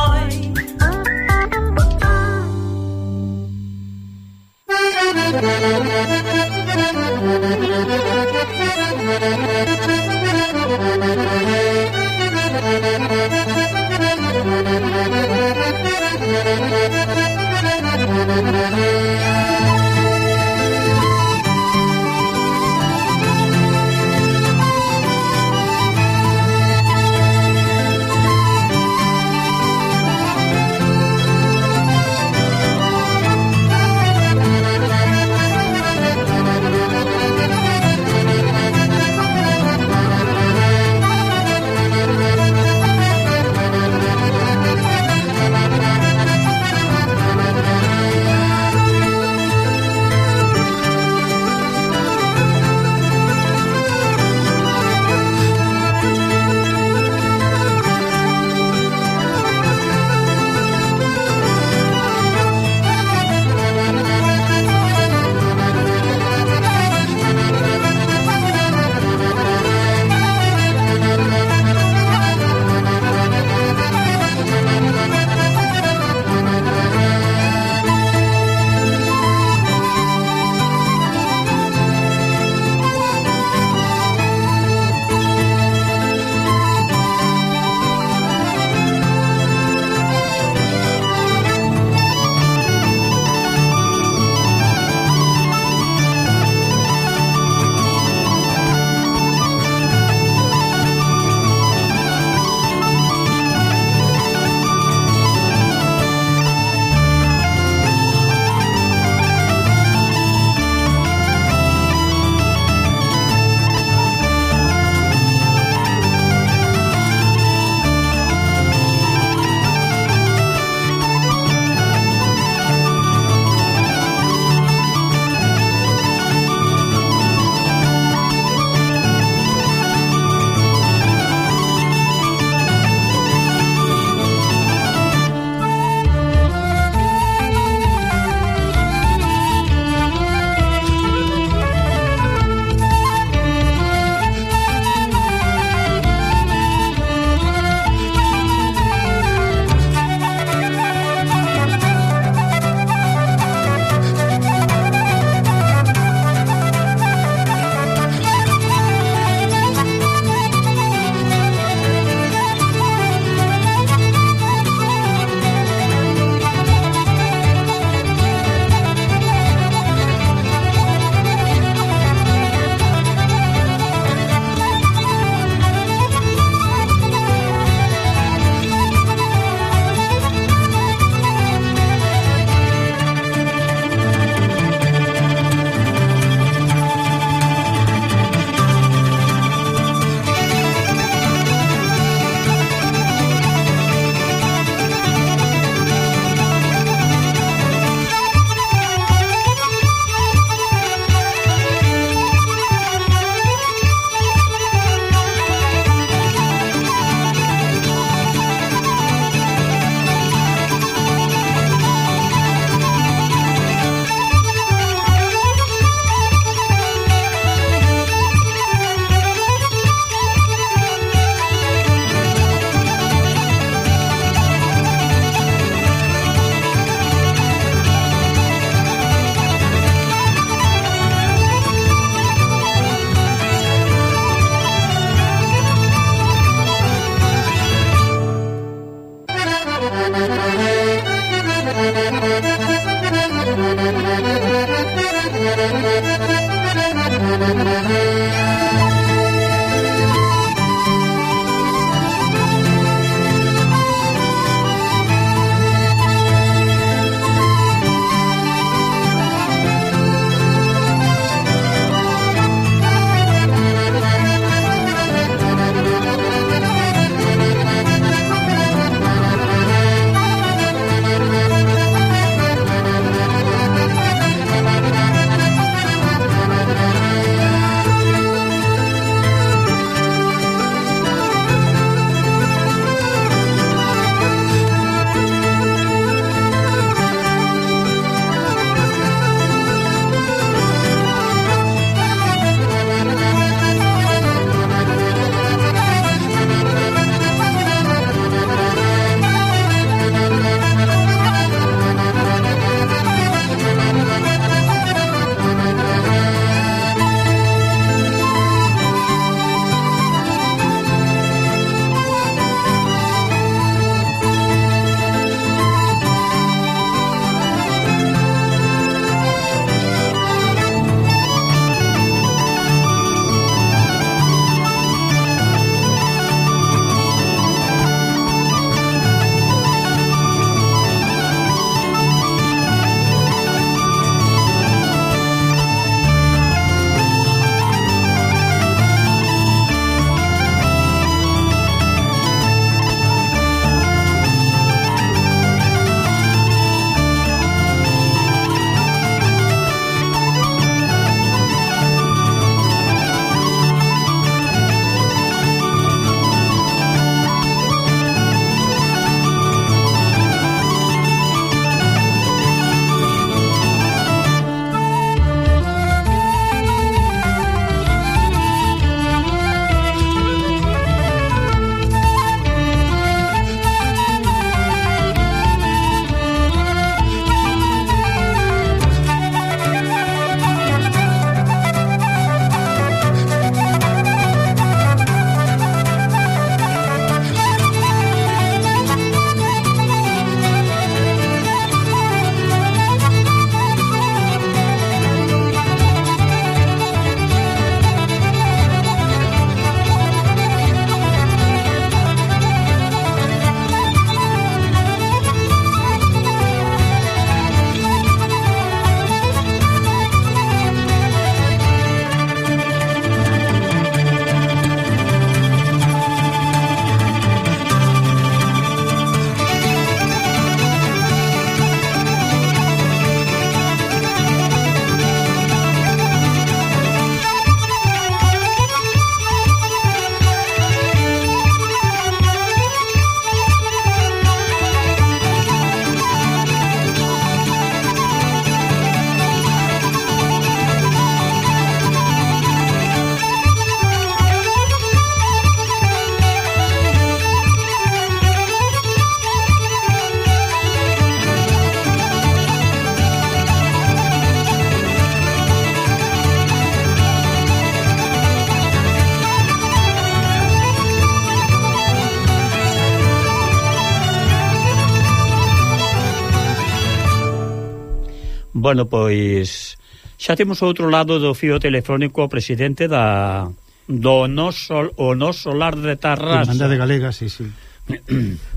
Bueno, pois xa temos outro lado do fío telefónico o presidente do noso lar de Tarrasa. Irmandade Galega, sí.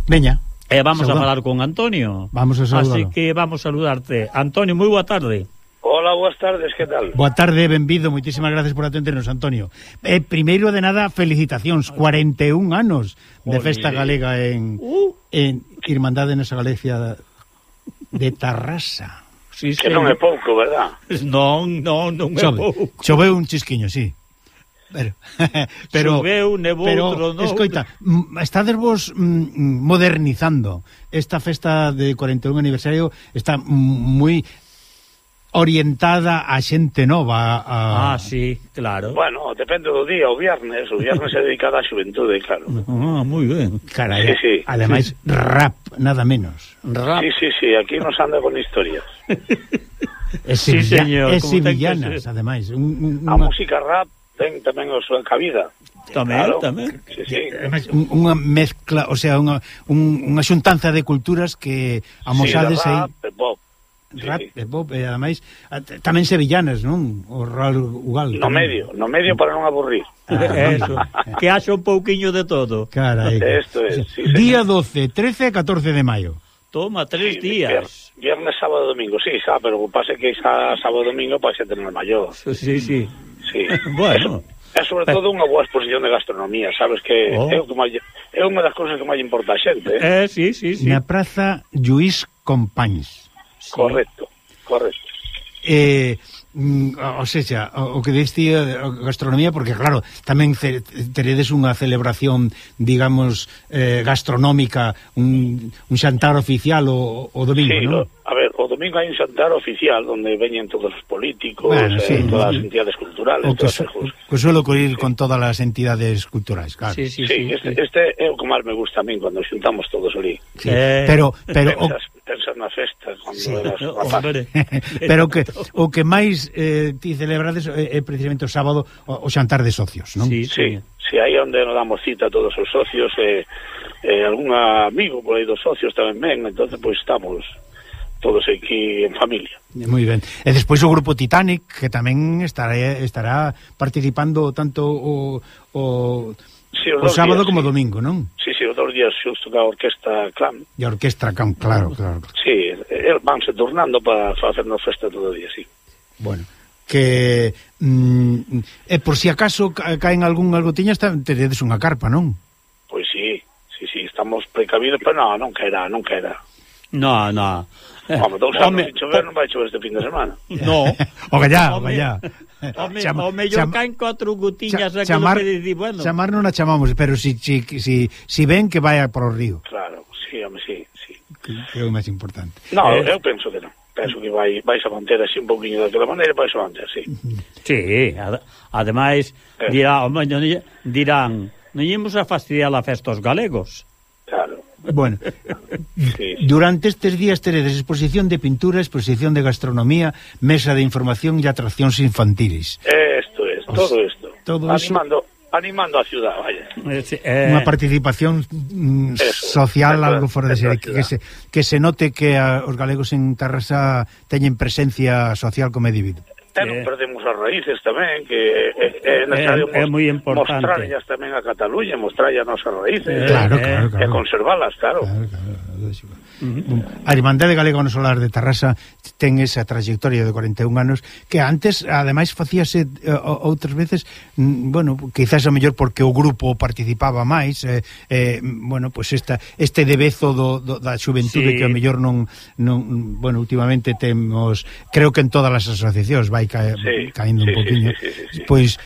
Veña. E vamos a falar con Antonio. Vamos a saludar. Así que vamos a saludarte. Antonio, moi boa tarde. Hola, boas tardes, que tal? Boa tarde, benvido, moitísimas gracias por atendernos, Antonio. Primeiro de nada, felicitacións, 41 anos de festa galega en Irmandade nesa Galicia de Tarrasa. Sí, que non é pouco, verdad? Non é pouco. Choveu un chisquiño, sí. Pero choveu, nevou, tronou. Escoita, estades vos modernizando. Esta festa de 41 aniversario está moi orientada a xente nova. Sí, claro. Bueno, depende do día, o viernes é dedicado á xuventude, claro. Moi ben. Carai, sí. Ademais, rap, nada menos. Rap. Sí, aquí nos anda con historias. Sí, señor. E sevillanas, ademais. A música rap ten tamén a súa cabida. Tamén. Sí. Ademais, unha mezcla, o sea, unha xuntanza de culturas que amosades aí. Rap e pop, e ademais tamén sevillanas, non? O Raúl Ugal. No medio para non aburrir. Eso, que haxa un pouquiño de todo. Carai. Esto es, sí, día 12, 13 e 14 de maio. Toma, 3 días. Viernes, sábado, domingo, sí, pero o pase que sábado e domingo para xente no maior. Sí. Bueno. É sobre todo unha boa exposición de gastronomía, sabes que é unha das cousas que máis importa a xente. Sí. Na Praza Lluís Companys. Sí. Correcto. O sea, o que diste gastronomía, porque claro, tamén teredes unha celebración, digamos, gastronómica, un xantar oficial o domingo, non? A ver, o domingo hai un xantar oficial onde veñen todos os políticos, todas as entidades culturales, que suelo ocurrir con todas as entidades culturais, claro. Sí, este é o que máis me gusta a min, cando xuntamos todos ali. Sí. Pero pensas na festa, pero o que máis ti celebrades é precisamente o sábado o xantar de socios, non? Sí, aí onde nos damos cita a todos os socios algún amigo por aí dos socios tamén ven, entonces pois estamos todos aquí en familia. Moi ben. E despois o grupo Titanic, que tamén estará participando tanto o sábado como o domingo, non? Sí, os 2 días xusto ca Orquestra Clan. E a Orquestra Clan, claro. Sí, vanse turnando para facernos festa todo o día, sí. Bueno, que por si acaso caen algo tiñas, teredes unha carpa, non? Pois sí, estamos precavidos, pero non caerá. No. Vamos, 2 anos sin chover, non vai chover este fin de semana. No. O gallá. O mellor caen 4 gutiñas bueno. Chamar non a chamamos, pero si ven que vai por o río. Claro, sí. Que é o máis importante. No, eu penso que non. Penso que vais a manter así un pouquinho daquela maneira, vais a manter, sí. Sí, ademais dirán, non ímos a fastidiar a festa aos galegos. Claro. Bueno, durante estes días teredes exposición de pintura, exposición de gastronomía, mesa de información e atraccións infantiles. Todo isto. Animando a ciudad, vaya. Unha participación social algo fora de ser, que se note que os galegos en Tarrasa teñen presencia social como individuo. Non perdemos as raíces tamén, que é necesario mostrarlas tamén a Cataluña, mostrarlas as nosas raíces, e conservalas, claro. A Irmandade Galega no Solar de Tarrasa ten esa trayectoria de 41 anos que antes, ademais, facíase outras veces, bueno, quizás a mellor porque o grupo participaba máis, bueno, pues este debezo da xuventude que a mellor non, bueno, últimamente temos, creo que en todas as asociacións vai caindo un poquinho. Pois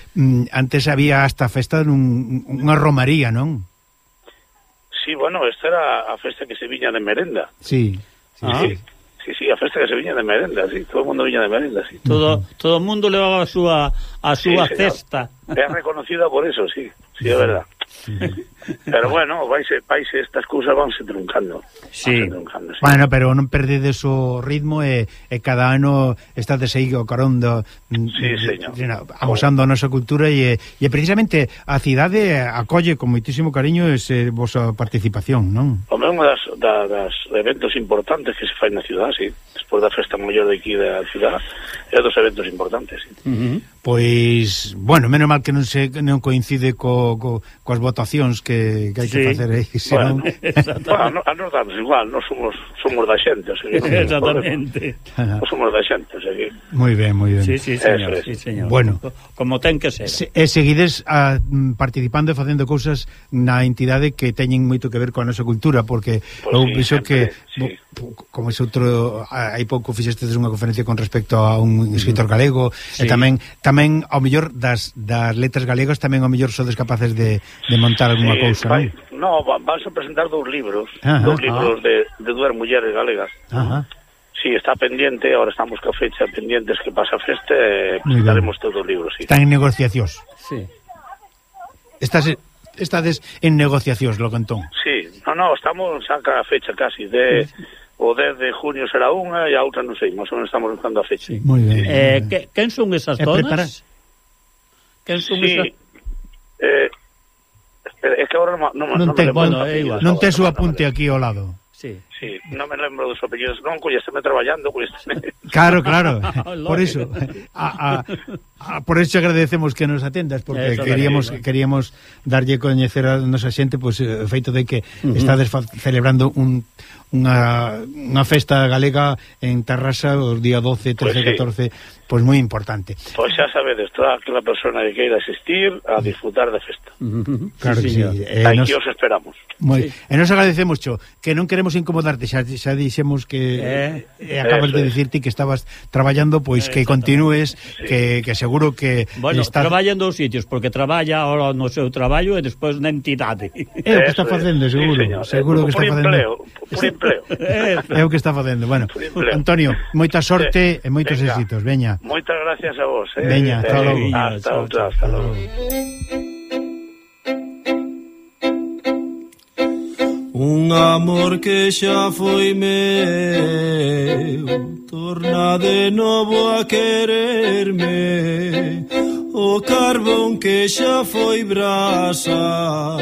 antes había hasta festa unha romaría, non? Sí, bueno, esta era a festa que se viña de merenda. Sí, a festa que se viña de merenda, sí, todo o mundo viña de merenda, sí. Todo o mundo levaba a súa cesta. É reconocida por eso, sí, é verdad. Pero bueno, vaise estas cousas vanse truncando. Sí. Bueno, pero non perdedes o ritmo e cada ano estades aí o carón amosando a nosa cultura e precisamente a cidade acolle con moitísimo cariño ese vosa participación, non? Home, unha das eventos importantes que se fai na cidade, sí. Despois da festa maior de aquí da cidade, é dos eventos importantes, sí. Pois, bueno, menos mal que non coincide coas votacións que hai que facer aí, senón... Bueno, a nos damos igual, non somos da xente, o sea, exactamente. Non somos da xente, o sea que... Moi ben, moi ben. Sí, señor. Bueno, como ten que ser. E seguides participando e facendo cousas na entidade que teñen moito que ver coa nosa cultura, porque eu penso que como ese outro, hai pouco fixestes unha conferencia con respecto a un escritor galego, e tamén ao mellor das letras galegas tamén ao mellor sodes capaces de montar alguna cousa, non? No, vas a presentar dous libros de dúas mulleres galegas. Sí, está pendiente, ahora estamos ca fecha pendientes que pasa a festa e presentaremos todos os libros, sí. Están en negociacións. Sí. Estades en negociacións, lo cantón. Sí, no, estamos xa ca fecha casi o 10 de junio será unha e a outra non sei, máis ou menos estamos buscando a fecha. Moi ben. Quen son esas zonas? Quen son esas? É que agora non tes o apunte aquí ao lado. Sí, non me lembro dos apellidos. Non, coñésteme traballando, Claro. Por iso por iso agradecemos que nos atendas, porque queríamos darlle coñecer a nosa xente pois o feito de que estades celebrando unha festa galega en Tarrasa os día 12, 13, 14, pois moi importante. Pois xa sabedes, toda aquela persona que queira asistir a disfrutar da festa. Claro que sí. Aquí os esperamos. E nos agradecemos, Cho, que non queremos incomodarte, xa dixemos que acabas de dicirte que estabas traballando, pois que continúes, que seguro que traballa en dous sitios, porque traballa ahora no seu traballo e despois na entidade. É o que está facendo, seguro que está facendo. Por empleo. É o que está facendo. Bueno, Antonio, moita sorte e moitos éxitos, veña. Moitas gracias a vos. Veña, hasta logo. Hasta logo. Un amor que xa foi meu torna de novo a quererme. O carbón que xa foi brasa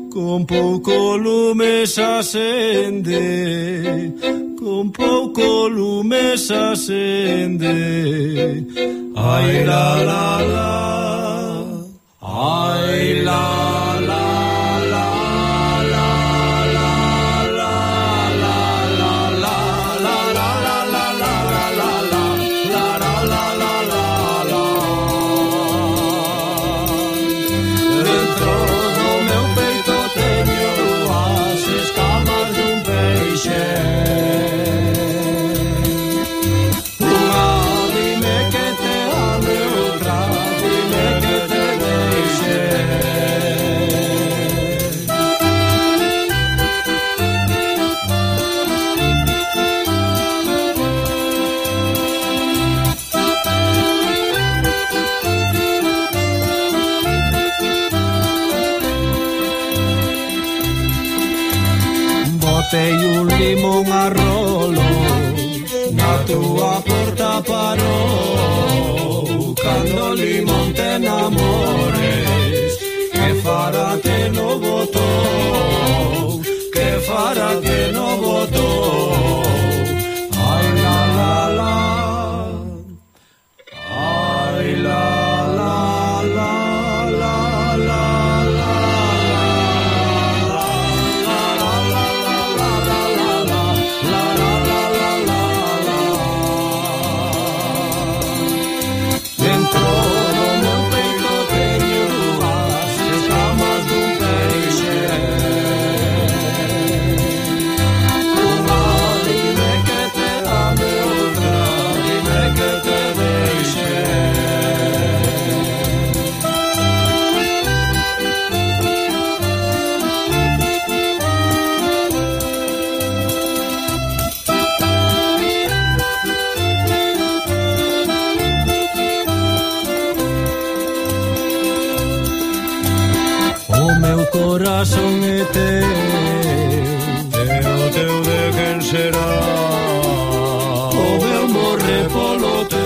con pouco lume se acende, con pouco lume se acende. Ai la la la, ai la la. Botei un limón a rolo, na túa porta parou. Cando o limón te enamores, que fará que no botou, que fará que no botou. Ai la la la, ai la la la la la. Oh corazón é teu de quen será, o meu morre polo teu.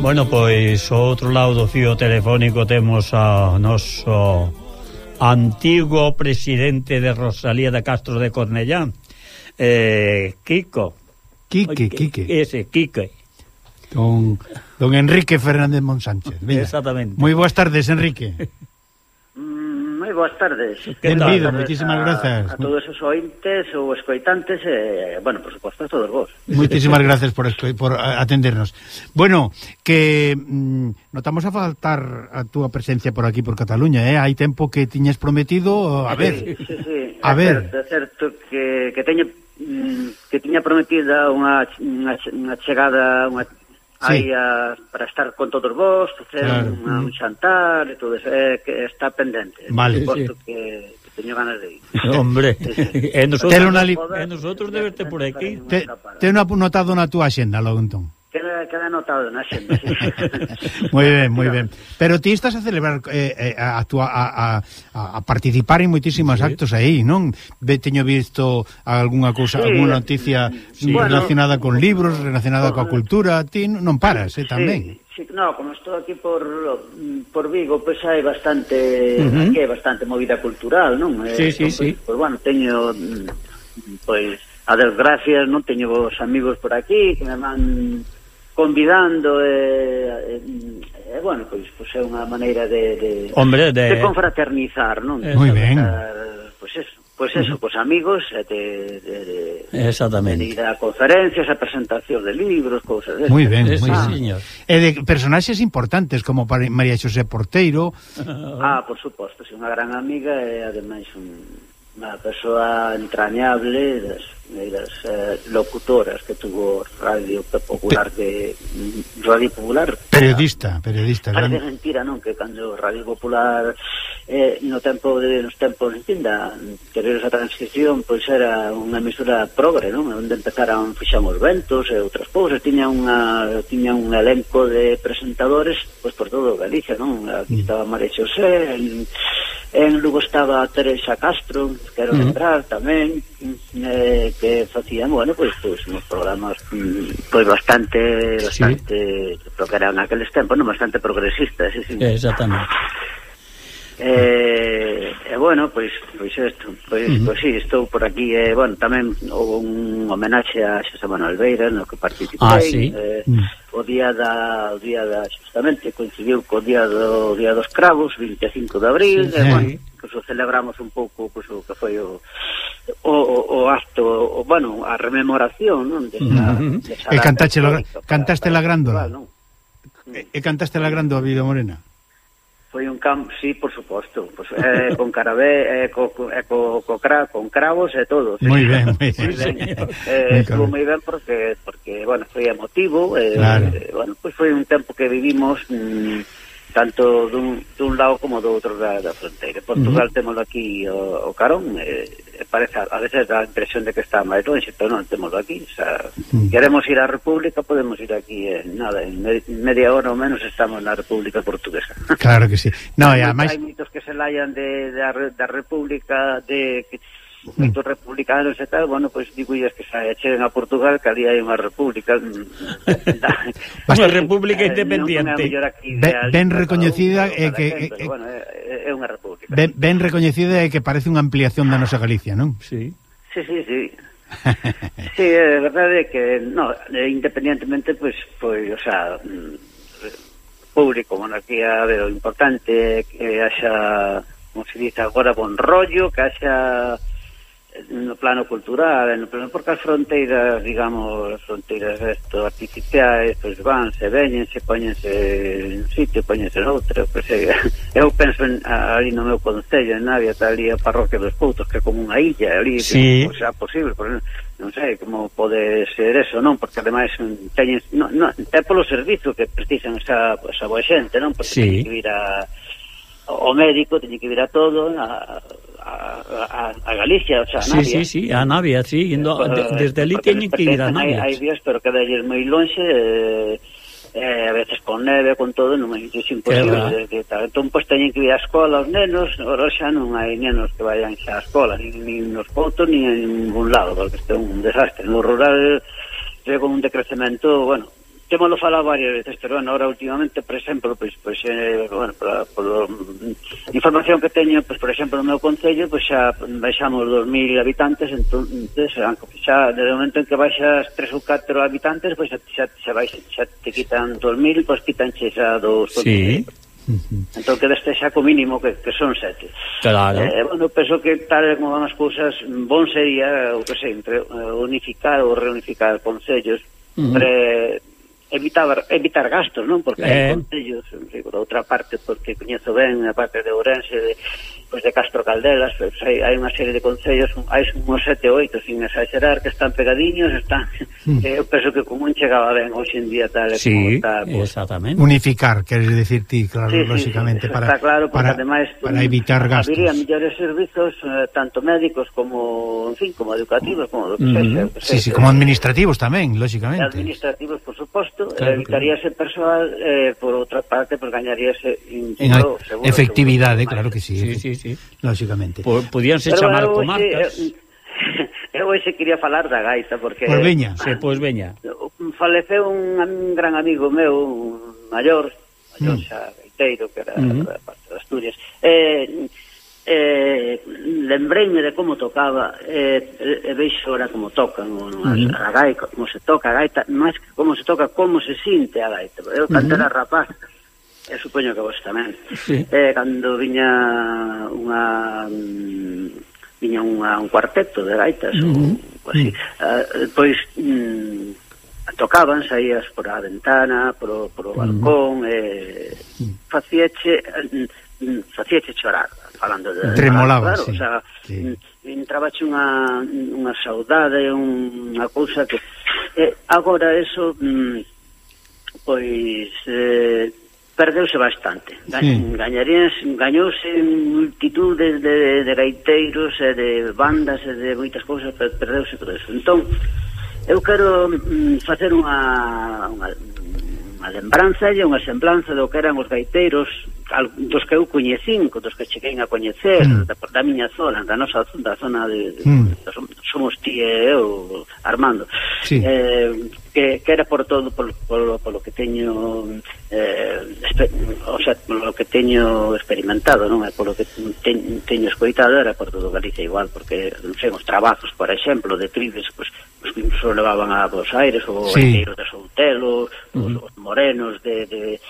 Bueno, pois, ao outro lado do fío telefónico temos a noso antigo presidente de Rosalía de Castro de Cornellá, Quique. Ese, Quique. Don Enrique Fernández Monsánchez. Exactamente. Moi boas tardes, Enrique. Moi boas tardes. Benvido, moitísimas grazas. A todos os ointes ou escoitantes, bueno, por suposto, a todos vos. Moitísimas grazas por atendernos. Bueno, que notamos a faltar a túa presencia por aquí por Cataluña, Hai tempo que tiñes prometido, a ver. Sí. A ver. É certo que tiña prometida unha chegada, aí para estar con todos vos, facer un xantar e todo eso, que está pendente. Vale. Posto que teño ganas de ir. Hombre, e nosotros de verte por aquí. Ten notado na túa axenda, logo entón. Queda anotado na xenda, sí. Moi ben. Pero ti estás a celebrar a participar en moitísimos actos aí, non? Teño visto algunha cousa, algunha noticia relacionada con libros, relacionada coa cultura. Ti non paras, tamén. Sí, no, como estou aquí por Vigo, pois hai bastante aquí hai bastante movida cultural, non? Sí. Pois bueno, teño pois a desgracia, non teño vos amigos por aquí que me van convidando bueno, pois é unha maneira de confraternizar, non? Moi ben. Pois eso, cos amigos exactamente. De ir a conferencias, a presentación de libros, cousas desas. Moi ben, sí, señor. E de personaxes importantes como María Xosé Porteiro. Por suposto, é unha gran amiga e ademais unha persoa entrañable das locutoras que tuvo Radio Popular periodista parece mentira, non? Que cando Radio Popular nos tempos anteriores a transición, pois era unha emisora progre, non? Onde fixamos ventos e outras cousas, tiña un elenco de presentadores pois por todo Galicia, non? Aquí estaba María Xosé, en Lugo estaba Teresa Castro, quero lembrar tamén, que facían, bueno, pois uns programas pois bastante creo que eran naqueles tempos, non, bastante progresistas, sí. Exactamente. Bueno, pois isto, pois sí, estou por aquí, bueno, tamén houve un homenaxe a Xosé Manuel Beira no que participei, o día justamente coincidiu co día dos cravos, 25 de abril, bueno, que o celebramos un pouco, pois o que foi o acto, bueno, a rememoración, non? E cantaste la grándola. E cantaste la grándola, Vida Morena. Foi un sí, por suposto, pues, con carabé, con cravos e todo. Moi ben. Estuvo moi ben porque bueno, foi emotivo, bueno, pues foi un tempo que vivimos tanto dun lado como do outro da fronteira. Portugal témolo aquí o carón, parece a veces dá a impresión de que está máis longe, pero non témolo aquí, o sea, queremos ir á República, podemos ir aquí en media hora ou menos estamos na República Portuguesa. Claro que sí. No, e ademais hai mitos que se laian da República, de mitos republicanos e tal, bueno, pois digo que se cheguen a Portugal, que ali hai unha república unha república independiente ben recoñecida e que é unha república ben recoñecida e que parece unha ampliación da nosa Galicia, non? Sí, é verdade que independientemente pois, o sea, público, monarquía, o importante que haxa, como se dice agora, bon rollo, que haxa no plano cultural, porque as fronteiras, digamos, fronteiras artificiais, pois vanse, veñense, póñense en sitio, póñense noutro, pois eu penso ali no meu concello, en Navia, está ali a parroquia dos Poutos, que é como unha illa, ali, que xa posible, porque non sei como pode ser eso, non? Porque ademais teñen, é polo servizo que precisan esa boa xente, non? Porque teñen que vir ao médico, teñen que vir a todo, a Galicia, o sea, a Navia. Sí, a Navia, sí, desde ali teñen que ir a Navia. Hai días, pero cada día é moi lonxe, a veces con neve, con todo, non é imposible de tal. Entón, pois, teñen que ir á escola os nenos, agora xa non hai nenos que vayan xa á escola, nin nos poutos, nin en ningún lado, porque isto é un desastre. No rural, con un decrecemento, bueno, témolo falado varias veces, pero bueno, ahora últimamente, por exemplo, bueno, por información que teño, pues, por exemplo, no meu concello, pues xa baixamos 2.000 habitantes, entonces, xa, desde o momento en que baixas 3 ou 4 habitantes, pues xa te quitan 2.000, pues quitanche xa 2.000. Sí. Entón que deste xa co mínimo que son 7. Claro. Bueno, penso que tal como van as cousas, bon sería, o que sei, unificar ou reunificar concellos, evitar gastos, non? Porque hai concellos, por outra parte, porque coñezo ben a parte de Ourense, de Castro Caldelas, pues, hai unha serie de concellos, hai uns 7 ou 8, sin exagerar, que están pegadiños, eu penso que como un chegaba ben hoxe en día tal como está. Sí, exactamente. Unificar, queres decir ti, claro, lógicamente, está claro, porque ademais para evitar gastos. Habría mellores servizos, tanto médicos como, en fin, como educativos, como do que sexa. Sí, como administrativos tamén, lógicamente. Administrativos, por suposto, evitaríase persoal, por outra parte, pues gañaríase seguro, efectividade, claro que sí. Sí. Lógicamente. Podíanse chamar comarcas. Eu hoxe quería falar da gaita, porque... Pois veña. Faleceu un gran amigo meu, maior xa gaiteiro, que era da parte de Asturias. Lembreime de como tocaba, veixo ahora como tocan a gaita, como se toca a gaita, máis que como se toca, como se sinte a gaita. Eu cando era rapaz, eu supoño que vos tamén, cando viña un cuarteto de gaitas ou así, pois tocaban, saías por a ventana, por o balcón, facíache chorar, falando de tremolaba, claro, o sea, entrabache unha saudade, unha cousa que agora eso pois perdeuse bastante. Gañouse multitudes de gaiteiros e de bandas e de moitas cousas, perdeuse todo eso. Entón, eu quero facer unha lembranza e unha semblanza do que eran os gaiteiros, dos que eu coñecín, dos que cheguei a coñecer, da miña zona, da nosa zona de somos ti e eu, Armando, que era por todo, polo que teño polo que teño experimentado, non é polo que teño escoitado, era por todo Galicia igual, porque non sei, os trabajos, por exemplo, de trides, pues incluso levaban a Buenos Aires, o gaiteiros de Soutelo, os morenos que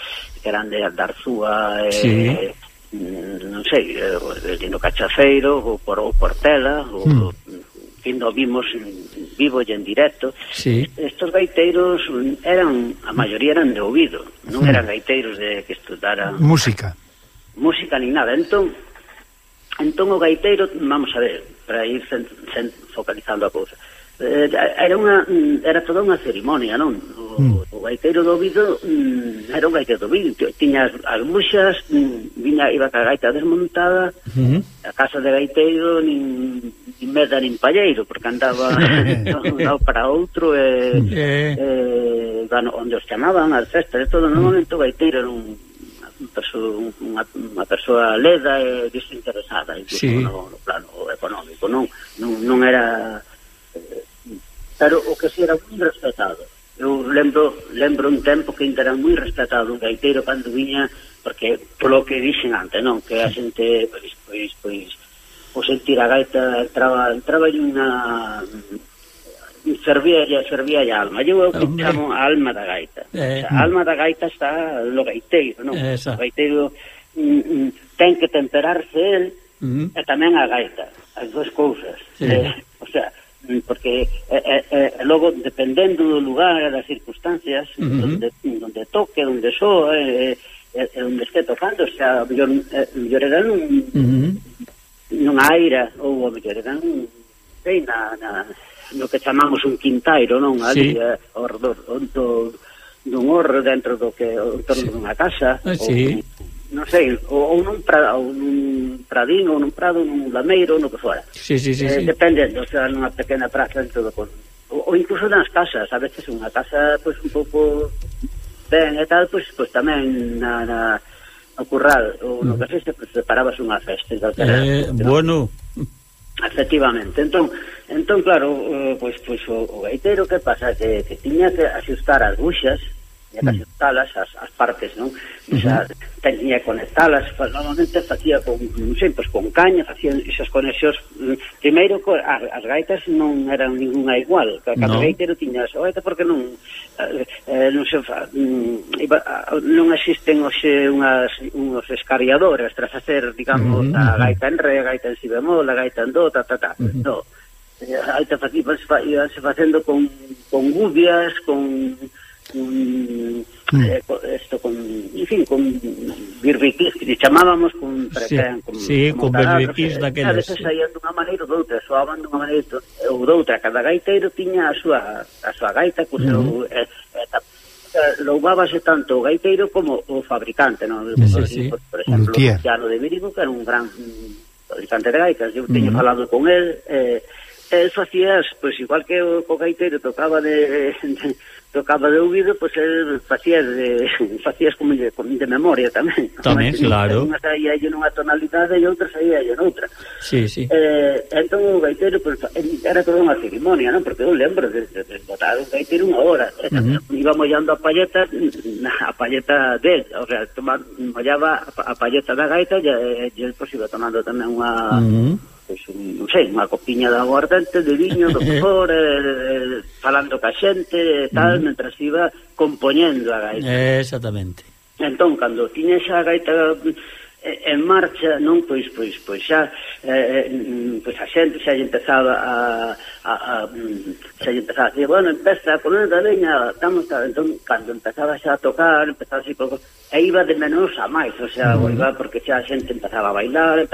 eran de Aldarzúa, non sei, el Dino Cachafeiro, ou Portela, ou no vimos vivo e en directo. Estos gaiteiros a maioría eran de ouvido, non eran gaiteiros de que estudaran música ni nada. Entón o gaiteiro, vamos a ver, para ir focalizando a cousa, era toda unha cerimonia, non? O gaiteiro do ouvido era un gaiteiro do ouvido, tiña as buxas, iba ca gaita desmontada, a casa de gaiteiro nin meda nin palleiro, porque andaba un lado para outro, onde os chamaban as festas e todo. No momento o gaiteiro era unha persoa leda e desinteresada, incluso no plano económico, non era... Pero o que si era moi respetado. Eu lembro un tempo que ainda era moi respetado un gaiteiro cando viña, porque polo que dixen antes, non? Que a xente, pois o sentir a gaita entraba en unha... servía a alma. Eu chamo a alma da gaita. A alma da gaita está no gaiteiro, non? O gaiteiro ten que temperarse el e tamén a gaita, as duas cousas. O sea, porque logo, dependendo do lugar e das circunstancias, donde toque, donde soa, onde este tocando, o sea, mellor era nunha aira, ou a mellor era no que chamamos un quintairo, non? Ali, ao redor dun horro, dentro do que en torno dunha casa, non sei, ou nun pradín, ou nun prado, nun lameiro, ou no que fora. Dependendo, o sea, nunha pequena praza dentro do ou incluso nas casas, a veces unha casa, pois, un pouco ben e tal, pois tamén no curral ou no café se preparabas unha festa bueno, efectivamente. Entón claro, pois o gaiteiro, que pasa? Que tiña que axustar as buxas, tiña que axustalas as partes, non? O sea, tiña que conectalas, normalmente facía con, non sei, pois con caña, facían esas conexións. Primeiro, as gaitas non eran ninguna igual, cada gaiteiro tiña a súa gaita, porque non existen hoxe unhos escariadores para facer, digamos, a gaita en re, a gaita en si bemol, a gaita en do, no. A gaita íbanse facendo con gubias, con birbiquís, que chamábamos con birbiquís daqueles. A veces saían dunha maneira ou doutra, soaban dunha maneira ou doutra. Cada gaiteiro tiña a súa gaita, co seu louvábase tanto o gaiteiro como o fabricante, non? Por exemplo, Luciano de Virigo, que era un gran fabricante de gaitas. Eu teño falado con el, facías, pois igual que o gaiteiro tocaba de ouvido, pois el facías como de memoria tamén, claro. Unha saía nunha tonalidade e outra saía noutra. Entón o gaiteiro era toda unha ceremonia, non? Porque eu lembro de botar o gaiteiro unha hora, iba mollando a palleta del, o sea, mollaba a palleta da gaita e el pois iba tomando tamén unha non sei, unha copiña de aguardente, de viño, do cor, falando ca xente e tal, mentras iba compoñendo a gaita. Exactamente. Entón, cando tiña xa a gaita en marcha, non, pois xa a xente xa lle empezaba a decir, bueno, empeza a poner da leña, entón, cando empezaba xa a tocar, empezaba así, e iba de menos a máis, o sea, iba porque xa a xente empezaba a bailar,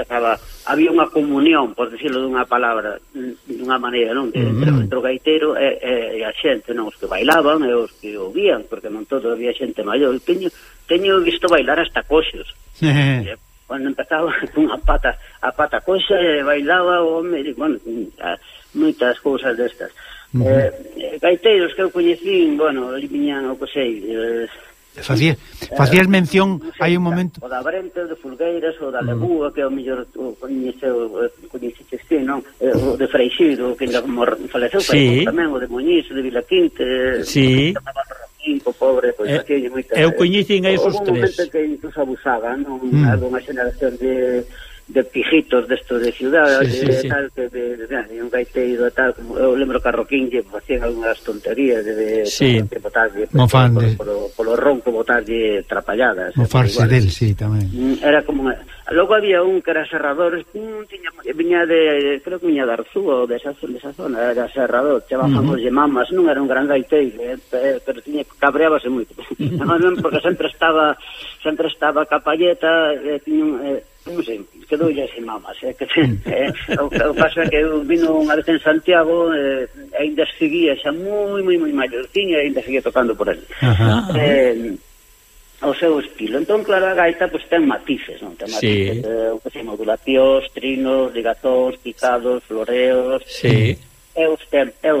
había unha comunión, por decirlo dunha palabra, dunha maneira, non? Entre o gaiteiro e a xente, non? Os que bailaban e os que ouvían, porque non todo había xente maior. Teño visto bailar hasta coxos. Cando empezaba cunha pata coxa e bailaba o home, bueno, moitas cousas destas. Gaiteiros que eu coñecín, bueno, ali viñan o que sei, Facías mención, hai un momento... O da Brente, o de Fulgueiras, o da Lebúa, que é o mellor coñeciste, non? O de Freixido, que faleceu, tamén, o de Muñiz, o de Vilaquinte, o pobre, pois aquí hai moita... Eu coñecín a esos tres. Houve un momento que incluso abusaban, non? Alguna xeneración de pijitos destos de ciudad, tal, que de un gaiteiro e tal, como eu lembro que a Roquín lle facían algunhas tonterías de botarlle polo ronco, botarlle trapalladas. Mofarse del, tamén. Era como... Logo había un que era serrador, viña de, creo que viña de Arzúa ou de esa zona, era serrador, chamamos de mamas, non era un gran gaiteiro, pero cabreábase moito. Porque sempre estaba ca palleta, non sei, quedoulle sin mamas, o caso é que eu vino unha vez en Santiago e ainda seguía xa moi maiorciña e ainda seguía tocando por ali o seu estilo. Entón, claro, a gaita pois ten matices, non? Ten matices, modulacións, trinos, ligatóns, picados, floreos, é o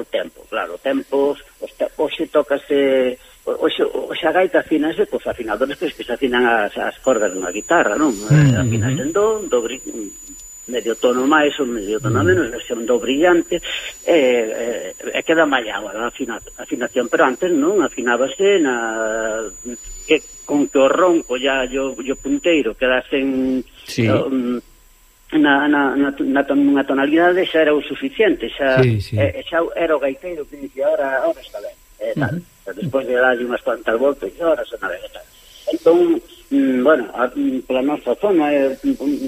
tempo, claro, tempos, hoxe tócase... Oxe a gaita afinase cos afinadores que se afinan as cordas dunha guitarra, non? Afinase en do medio tono máis ou medio tono menos, versión do brillante, e queda mallado a afinación, pero antes non, afinábase con que o ronco e o punteiro quedasen na tonalidade, xa era o suficiente, xa era o gaiteiro que dicía, ahora está ben, tal. Despois de darlle unhas cuantas voltas e ahora son a ver. Entón, bueno, pola nosa zona,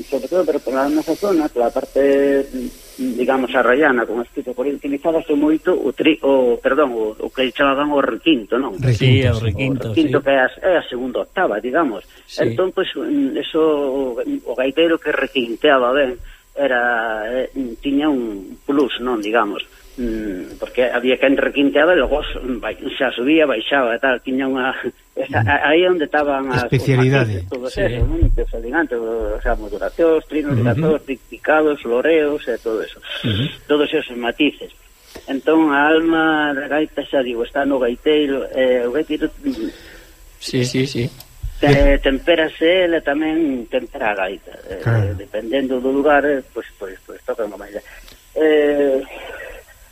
sobre todo, pero pola nosa zona, pola parte, digamos, arraiana, con escrito por utilizábase moito o que chamaban o requinto, non? O requinto, que é a segunda octava, digamos. Entón, pois, eso, o gaiteiro que requinteaba ben, tiña un plus, non, digamos, porque había quen requinteaba e logo xa subía, baixaba e tal, tiña unha... aí onde estaban as especialidades, todo eso, o sea, modulacións, trinos, ligatóns, picados, floreos e todo eso, todos esos matices. Entón a alma da gaita, xa digo, está no gaiteiro, o gaiteiro Sí. Temperase ele tamén tempera a gaita, dependendo do lugar, pois toca unha maneira.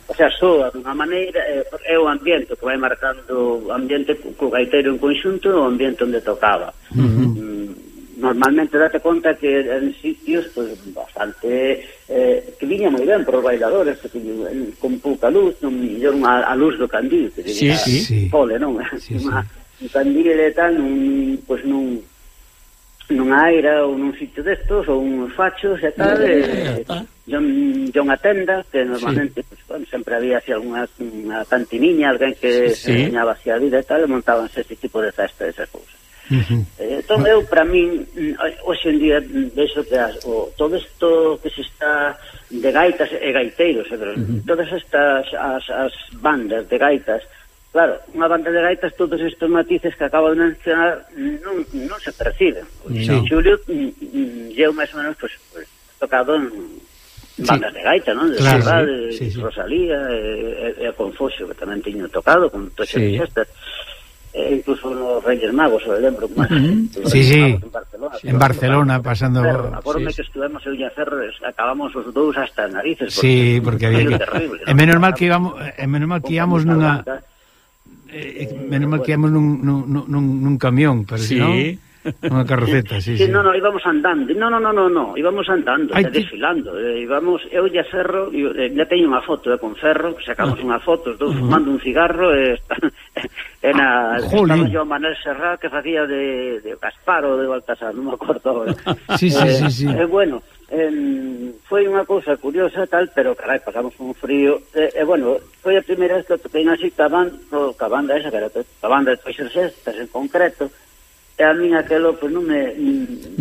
O sea, soa dunha maneira, é o ambiente que vai marcando o ambiente co gaiteiro en conxunto, o ambiente onde tocaba. Normalmente date conta que en sitios pues, bastante que viña moi ben para os bailadores, que con pouca luz, non mellor a luz do candil, que sí. Pole, non? Sí. Un candil e tal, nunha aira ou nun sitio destos, ou uns fachos e tal, unha tenda, que normalmente pues, bueno, sempre había así alguna cantiniña, alguén que se enseñaba así a vida e tal, e montábanse ese tipo de festa, esas cousas. Entón eu, para min, hoxe en día vexo que todo isto que se está de gaitas e gaiteiros, todas estas as bandas de gaitas, claro, unha banda de gaitas, todos estes matices que acabo de mencionar non se perciben. Xulio eu máis ou menos pues, tocado en bandas de gaita, non? De Saudade, Rosalía e a Confuxio, que tamén tiño tocado con todas as xestas. Incluso nos Reyes Magos, o lembro máis. En Barcelona pasando. Acorme que estuvemos eu e a Ferro, acabamos os dous hasta narices. Porque había que é menos mal que íbamos nunha menos mal que íbamos nun camión, pero si non unha carroceta, No, íbamos andando. No, íbamos andando, desfilando. Íbamos, eu e a Ferro, ya teño unha foto con Ferro, sacamos unha foto, os dous fumando un cigarro, estaba yo Manuel Serrat que facía de Gaspar ou de Baltasar, non me acordo agora. Sí. Bueno, foi unha cousa curiosa tal, pero carai, pasamos un frío. Bueno, foi a primeira vez que toquei así ca banda esa, que era a banda de Toixer Sestas en concreto. E a min aquelo, pois non me...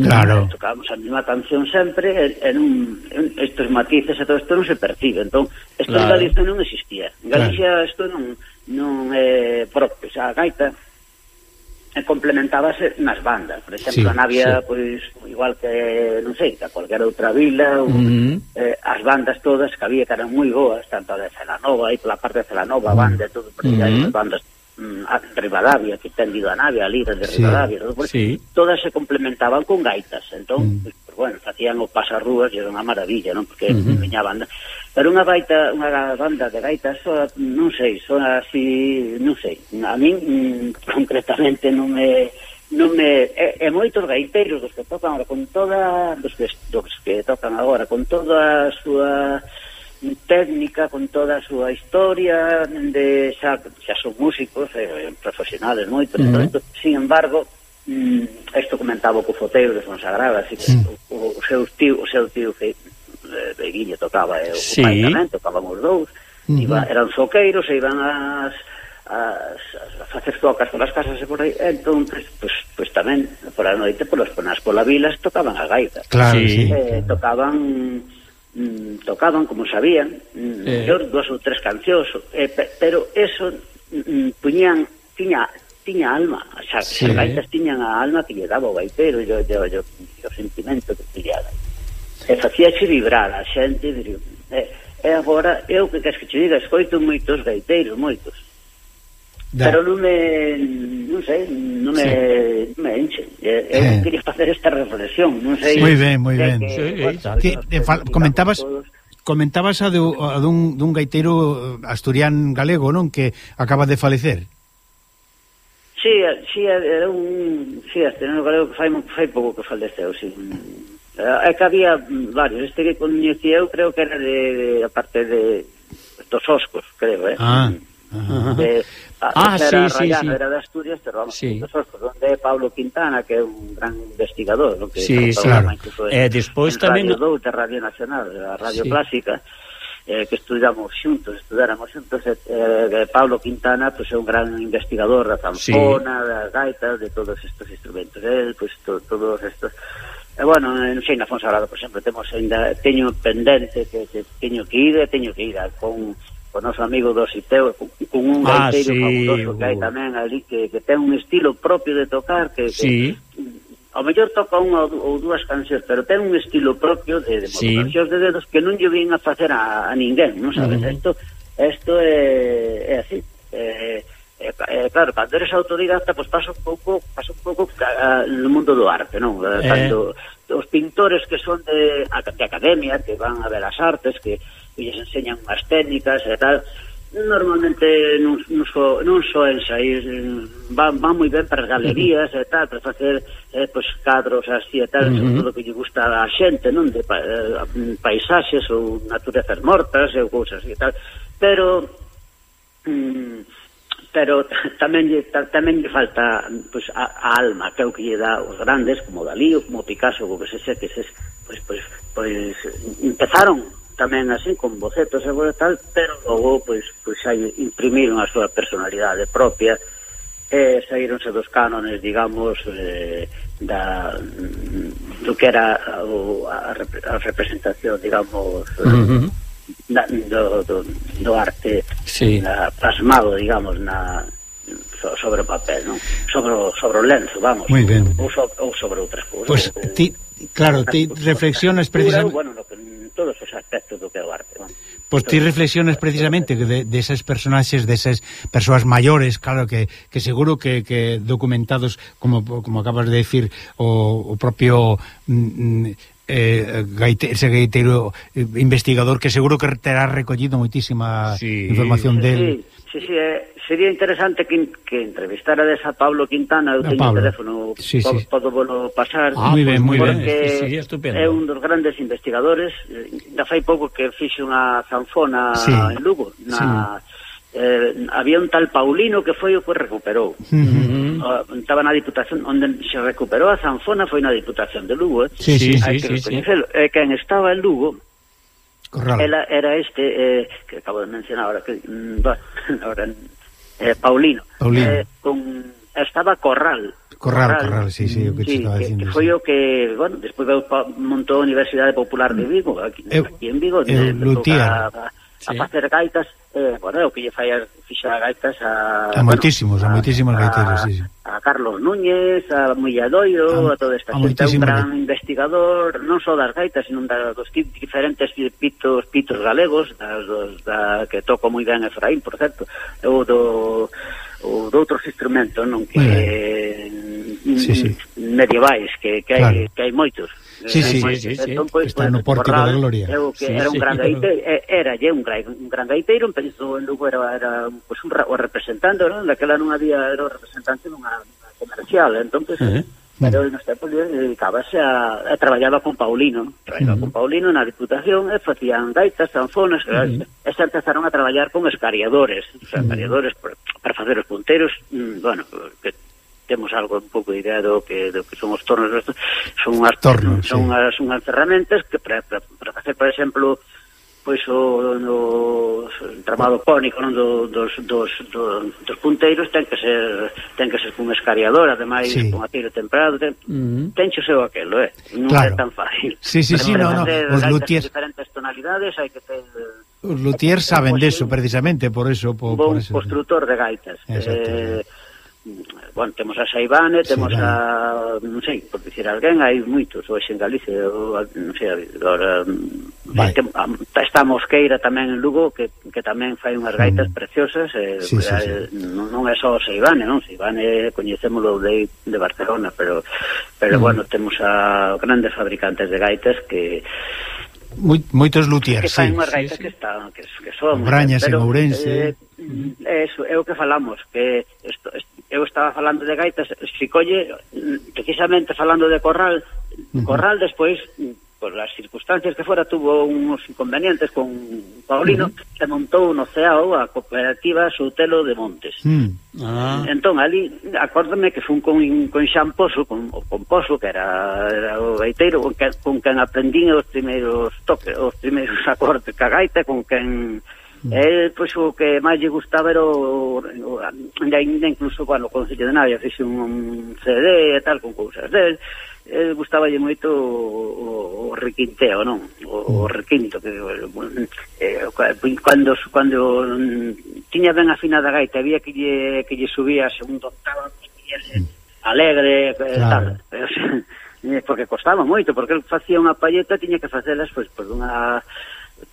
Claro. Tocábamos a mesma canción sempre, estes matices e todo isto non se percibe. Entón, isto en Galicia non existía. En Galicia isto non é propio. O sea, a gaita complementábase nas bandas. Por exemplo, a Navia, pois, igual que, non sei, que a cualquier outra vila, as bandas todas que había que eran moi boas, tanto a de Celanova, aí pola parte de Celanova, a banda e todo, porque hai as bandas a Rivadavia, que ten ido a Navia, a líder de Rivadavia, todas se complementaban con gaitas. Entón, pues, bueno, facían o pasarrúas e era unha maravilla, non? Porque viña a banda. Pero unha banda de gaitas, non sei, son así, non sei. A min, concretamente, non me e moitos gaiteiros dos que tocan agora con toda dos que tocan agora con toda a súa técnica, con toda a súa historia, xa son músicos profesionales moitos, sin embargo, isto comentaba co foteiro de Fonsagrada, así que o seu tío que Beguinho tocaba e o pai tamén, tocaban os dous, eran zoqueiros e iban a facer tocas polas casas e por aí, entón, pues tamén por a noite, polas polas vilas tocaban a gaita, tocaban como sabían, dúas ou tres cancións, pero eso tiña alma, xa, as gaitas tiñan a alma que lle daba o gaitero e o sentimento que pillaba e facíache vibrar a xente. E agora, eu que queres que te diga, escoito moitos gaiteiros, pero non me enche. Eu quería facer esta reflexión, non sei. Moi ben. Comentabas a dun gaiteiro asturián galego, non, que acaba de falecer. Sí, era un asturiano galego que fai pouco que faleceu, sí. É que había varios, este que coñecía eu creo que era a parte dos Oscos, creo, era de Asturias, pero vamos, onde é Pablo Quintana, que é un gran investigador, ¿no? Despois tamén de Radio Nacional, a Radio Clásica, que estudáramos xuntos, Pablo Quintana pues, é un gran investigador da zanfona, das gaitas, de todos estes instrumentos, pues, todos estos. Bueno, non sei, na Fonsagrada, por exemplo, teño pendente que teño que ir con o noso amigo do Siteu, con un gaiteiro fabuloso que hai tamén ali, que ten un estilo propio de tocar, que ao mellor toca unha ou dúas cancións, pero ten un estilo propio de modulacións de dedos que non lle vin a facer a ninguén, non sabes? Isto é así. claro, cando eres autodidacta, pois pasa un pouco no mundo do arte, non? Cando os pintores que son de academia, que van a ver as artes, que lles enseñan unhas técnicas e tal, normalmente non soen sair, van moi ben para as galerías e tal, para facer pois cadros así e tal, sobre todo que lle gusta a xente, non? De paisaxes ou naturezas mortas ou cousas e tal, pero tamén lle falta pois a alma, que é o que lle dá os grandes como Dalí ou como Picasso, ou que se sé que pois empezaron tamén así con bocetos e tal, pero logo pois aí imprimiron a súa personalidade propia e saíronse dos cánones, digamos, do que era a representación, digamos, do arte plasmado, digamos, sobre o papel, non? Sobre o lenzo, vamos, ou sobre outras cousas. Claro, ti reflexionas precisamente... Bueno, todos os aspectos do que é o arte, non? Pois ti reflexionas precisamente de esas personaxes, desas persoas maiores, claro que seguro que documentados, como acabas de decir, o propio ese gaiteiro investigador, que seguro que terá recollido moitísima información del... Sí, sería interesante que entrevistarades a Pablo Quintana. Eu teño o teléfono, podo volo pasar. Moi ben, sería estupendo. É un dos grandes investigadores. Da fai pouco que fixe unha zanfona en Lugo. Había un tal Paulino que foi o que recuperou. Estaba na Diputación, onde se recuperou a zanfona foi na Diputación de Lugo. Hai que recoñecelo. Quen estaba en Lugo, era este que acabo de mencionar ahora, Paulino. Estaba Corral, sí, o que estaba dicindo. Que foi o que, bueno, despois montou a Universidade Popular de Vigo, aquí en Vigo, a facer gaitas, o que lle fixar gaitas a moitísimos gaiteiros, a Carlos Núñez, a Mulladoiro, a toda esta xente, un gran investigador, non só das gaitas, sino dos diferentes pitos galegos, que toco moi ben Efraín, por certo, ou do outros instrumentos, non, que medievais, que hai moitos. Está no Pórtico da Gloria. Era un gran gaiteiro, un gran gaiteiro, empezou en Lugo, era o representante, non? Daquela non había, era o representante dunha comercial, entonces, pero nos tempos dedicábase a traballaba con Paulino, na Diputación, e facían gaitas, zanfonas, e se empezaron a traballar con escariadores, para facer os punteiros, bueno, que temos algo un pouco de idea do que son os tornos, son unhas ferramentas que para facer, por exemplo, pois o tramado cónico, non, dos punteiros ten que ser cun escariador, ademais con atiro temperado, tenche o seu aquelo, non é tan fácil. Os luthiers, diferentes tonalidades, hai que ter... Os luthiers saben deso, precisamente, por eso... Bon constructor de gaitas. Bueno, temos a Saibane, temos a... non sei, por dicir alguén, hai moitos, hoxe en Galicia, non sei, agora... Está Mosqueira tamén en Lugo, que tamén fai unhas gaitas preciosas, non é só Saibane, non? Saibane coñecémolo de Barcelona, pero bueno, temos a grandes fabricantes de gaitas que... Moitos luthiers, que fai unhas gaitas que son... Brañas en Ourense... Eso, é o que falamos, que eu estaba falando de gaitas, se colle, precisamente falando de Corral, Corral despois, por as circunstancias que fora, tuvo uns inconvenientes con Paulino, se montou no CEAO a cooperativa Soutelo de Montes. Entón, ali, acórdame que fun con Xan Pozo, con Pozo, que era o gaiteiro, con quen aprendín os primeiros toques, os primeiros acordes ca gaita, con quen... pois o que máis lle gustaba era ainda incluso, bueno, o Concello de Navia fixe un CD e tal con cousas del, gustaballe moito o requinteo, non? O requinto, que cando tiña ben afinada a gaita, había que lle subía a segundo octava, alegre, tal, porque costaba moito, porque el facía unha palleta, tiña que facelas pois dunha...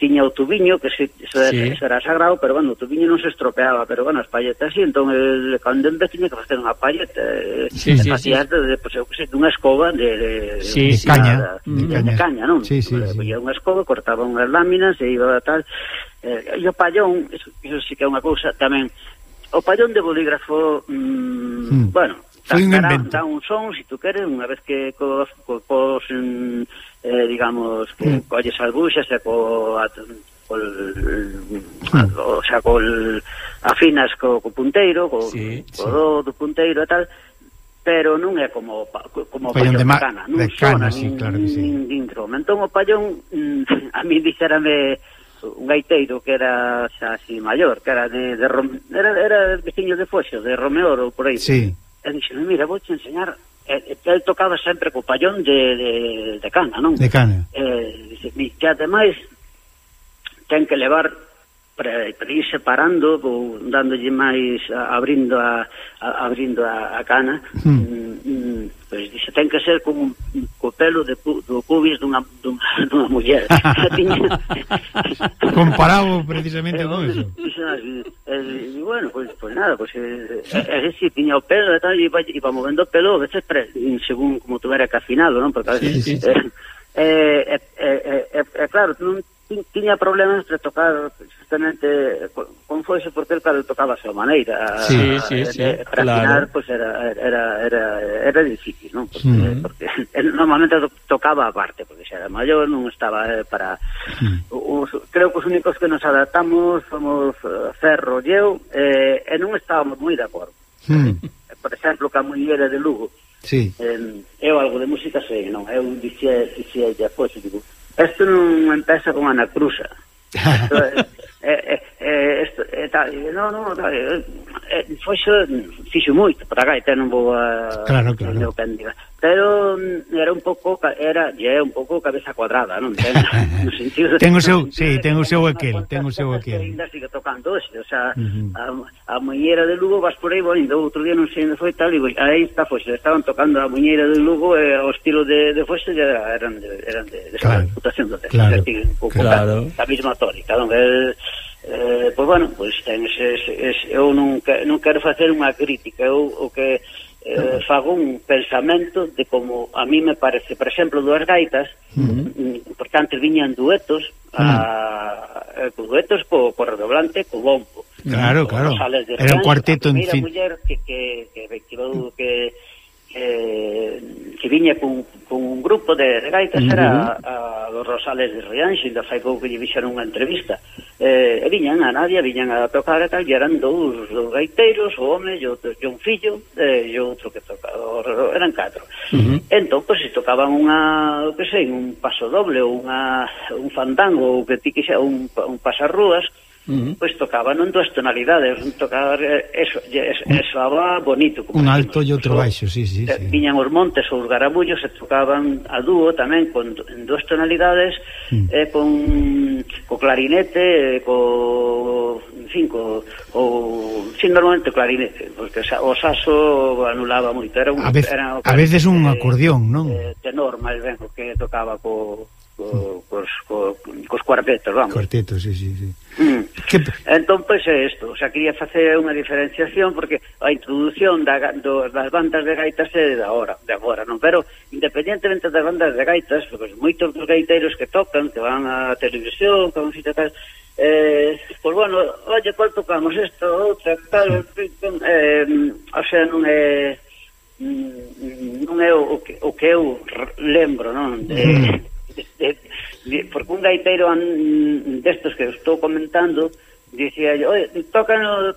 tiña o tubiño, que eso era sagrado, pero bueno, o tubiño non se estropeaba, pero bueno, as palletas sí, entón cando en vez tiña que facer unha palleta, facía pues, eu que sei, dunha escoba de caña, non? Poñía unha escoba, cortaba unhas láminas e iba tal, e o pallón, eso sí que é unha cousa tamén, o pallón de bolígrafo, bueno, dá un son, se tu queres, unha vez que digamos, que colles as buxas e afinas co punteiro, co do punteiro e tal, pero non é como o pallón de cana, non sona nin dentro. Entón o pallón, a mí dixérame un gaiteiro que era xa así maior, que era era veciño de Foxo, de Romeoro, por aí. E dixeme, mira, vou te enseñar. El tocaba sempre co pallón de cana, non? De cana. Que ademais ten que levar para ir separando ou dándolle máis abrindo a cana, pois dixe, ten que ser como co pelo do pubis dunha muller. Comparado precisamente con eso. E bueno, pois nada, pois si tiña o pelo e tal, e iba movendo o pelo, a veces según como tuvera que afinado, non? Porque a veces claro, non tiña problemas de tocar justamente con Foxo, porque el claro tocaba a súa maneira, para afinar pois era difícil, non? Porque normalmente tocaba aparte, porque xa era maior, non estaba para creo que os únicos que nos adaptamos somos Ferro e eu, e non estábamos moi de acordo. Por exemplo, que a muller de Lugo, eu algo de música sei, non? Eu dixía Foxo, digo, isto non empeza con Ana Cruza. Foxo fixo moito para a gaita, non vou a pero era un pouco cabeza cuadrada, non? No sentido ten o seu aquel ainda sigue tocando, o sea, a muñeira de Lugo vas por aí, bueno, outro día non sei onde foi tal, e aí está Foxo, estaban tocando a muñeira de Lugo, e o estilo de Foxo eran de esa reputación do texto, un pouco a mesma tónica, non? Pois bueno, pois ten eu non quero facer unha crítica, eu o que fago un pensamento de como a mí me parece, por exemplo, duas gaitas, porque antes viñan duetos, duetos co redoblante, co bombo. Claro. Era un cuarteto, en fin. Muller que viña con un grupo de gaitas, era a dos Rosales de Rianxo, ainda fai pouco que lle fixeron unha entrevista, e viñan a tocar e tal, e eran dous gaiteiros, o home e un fillo, e outro que tocaba, eran 4. Entón, pois, se tocaban un paso doble, ou un fandango, ou que ti que xa, un pasarrúas, pois tocaban en duas tonalidades, tocaba eso soaba bonito, un alto e outro baixo, viñan os montes ou os garamullos e tocaban a dúo tamén en duas tonalidades, co clarinete, normalmente o clarinete, porque o saxo anulaba moito, a veces un acordeón, non? Tenor, máis ben, que tocaba cos cuartetos, vamos. Cuartetos, sí. Entón, pois é isto, o sea, quería facer unha diferenciación, porque a introducción das bandas de gaitas é de agora, non? Pero, independientemente das bandas de gaitas, porque moitos dos gaiteiros que tocan, que van á televisión, que van a tal, pois bueno, oye, cual tocamos isto, outra, tal, o sea, non é o que eu lembro, non? Porque un gaiteiro destos que estou comentando dicía, oye, tócano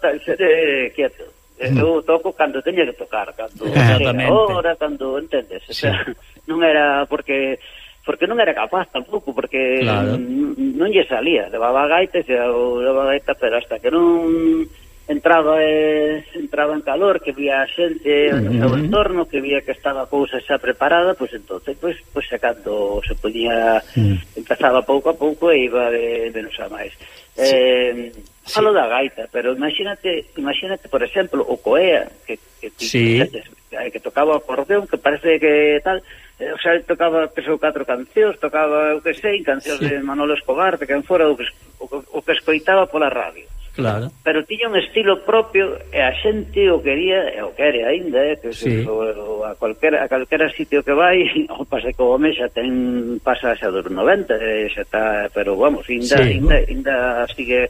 quieto, eu toco cando teña que tocar, cando hora, cando entendes, o sea, non era porque non era capaz tampouco, porque non lle salía, levaba gaitas pero hasta que non entraba en calor, que vía a xente no seu entorno, que vía que estaba a cousa xa preparada, pois entonces pois cando se podía empezaba pouco a pouco e iba de menos a máis. Falo da gaita, pero imagínate, por exemplo, o coea, que que tocaba acordeón, que parece que tal, o sea, tocaba, pesou 4 cancións, tocaba, o que sei, cancións de Manolo Escobar, de quen fora, o que escoitaba pola radio. Claro. Pero tiña un estilo propio e a xente o quería, e o quere ainda, que a calquera sitio que vai, o pasa que o home xa pasa xa dos 90, xa está, pero vamos, ainda sigue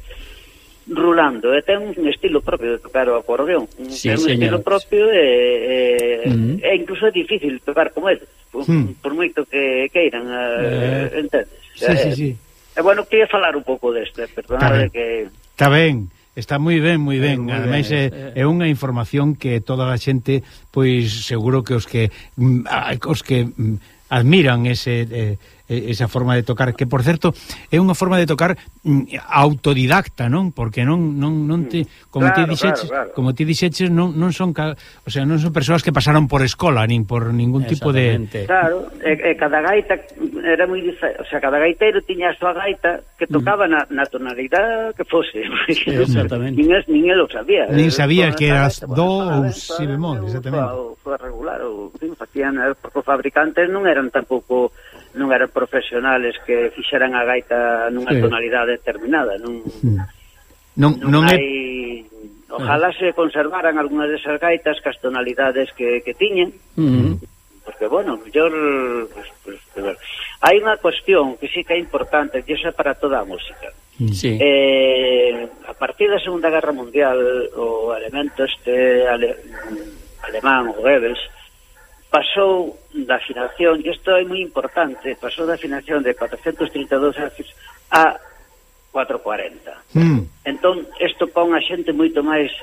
rulando, e ten un estilo propio de tocar o acordeón, ten un estilo propio e incluso é difícil tocar como ele, por moito que queiran, entendes? Sí. E bueno, queria falar un pouco deste, perdonade que... Está ben, está moi ben. Ademais é unha información que toda a xente, pois seguro que os que admiran esa forma de tocar, que por certo é unha forma de tocar autodidacta, non? Porque non te, como ti dixeches, non son, o sea, non son persoas que pasaron por escola nin por ningún tipo de... Claro, cada gaita era moi diferente, o sea, cada gaiteiro tiña a súa gaita que tocaba na tonalidade que fose. Exactamente. Nin el o sabía. Nin sabía que era do ou si bemol, exactamente. Foi regular, facían, porque os fabricantes non eran profesionales que fixeran a gaita nunha tonalidade determinada, non hai... Ojalá se conservaran algunhas desas gaitas cas tonalidades que tiñen, porque, bueno, mellor... Hai unha cuestión que sí que é importante, que é para toda a música. A partir da Segunda Guerra Mundial, o elemento alemán, o Goebbels, pasou da afinación, e isto é moi importante, pasou da afinación de 432 Hz a 440. Entón, isto pon a xente moito máis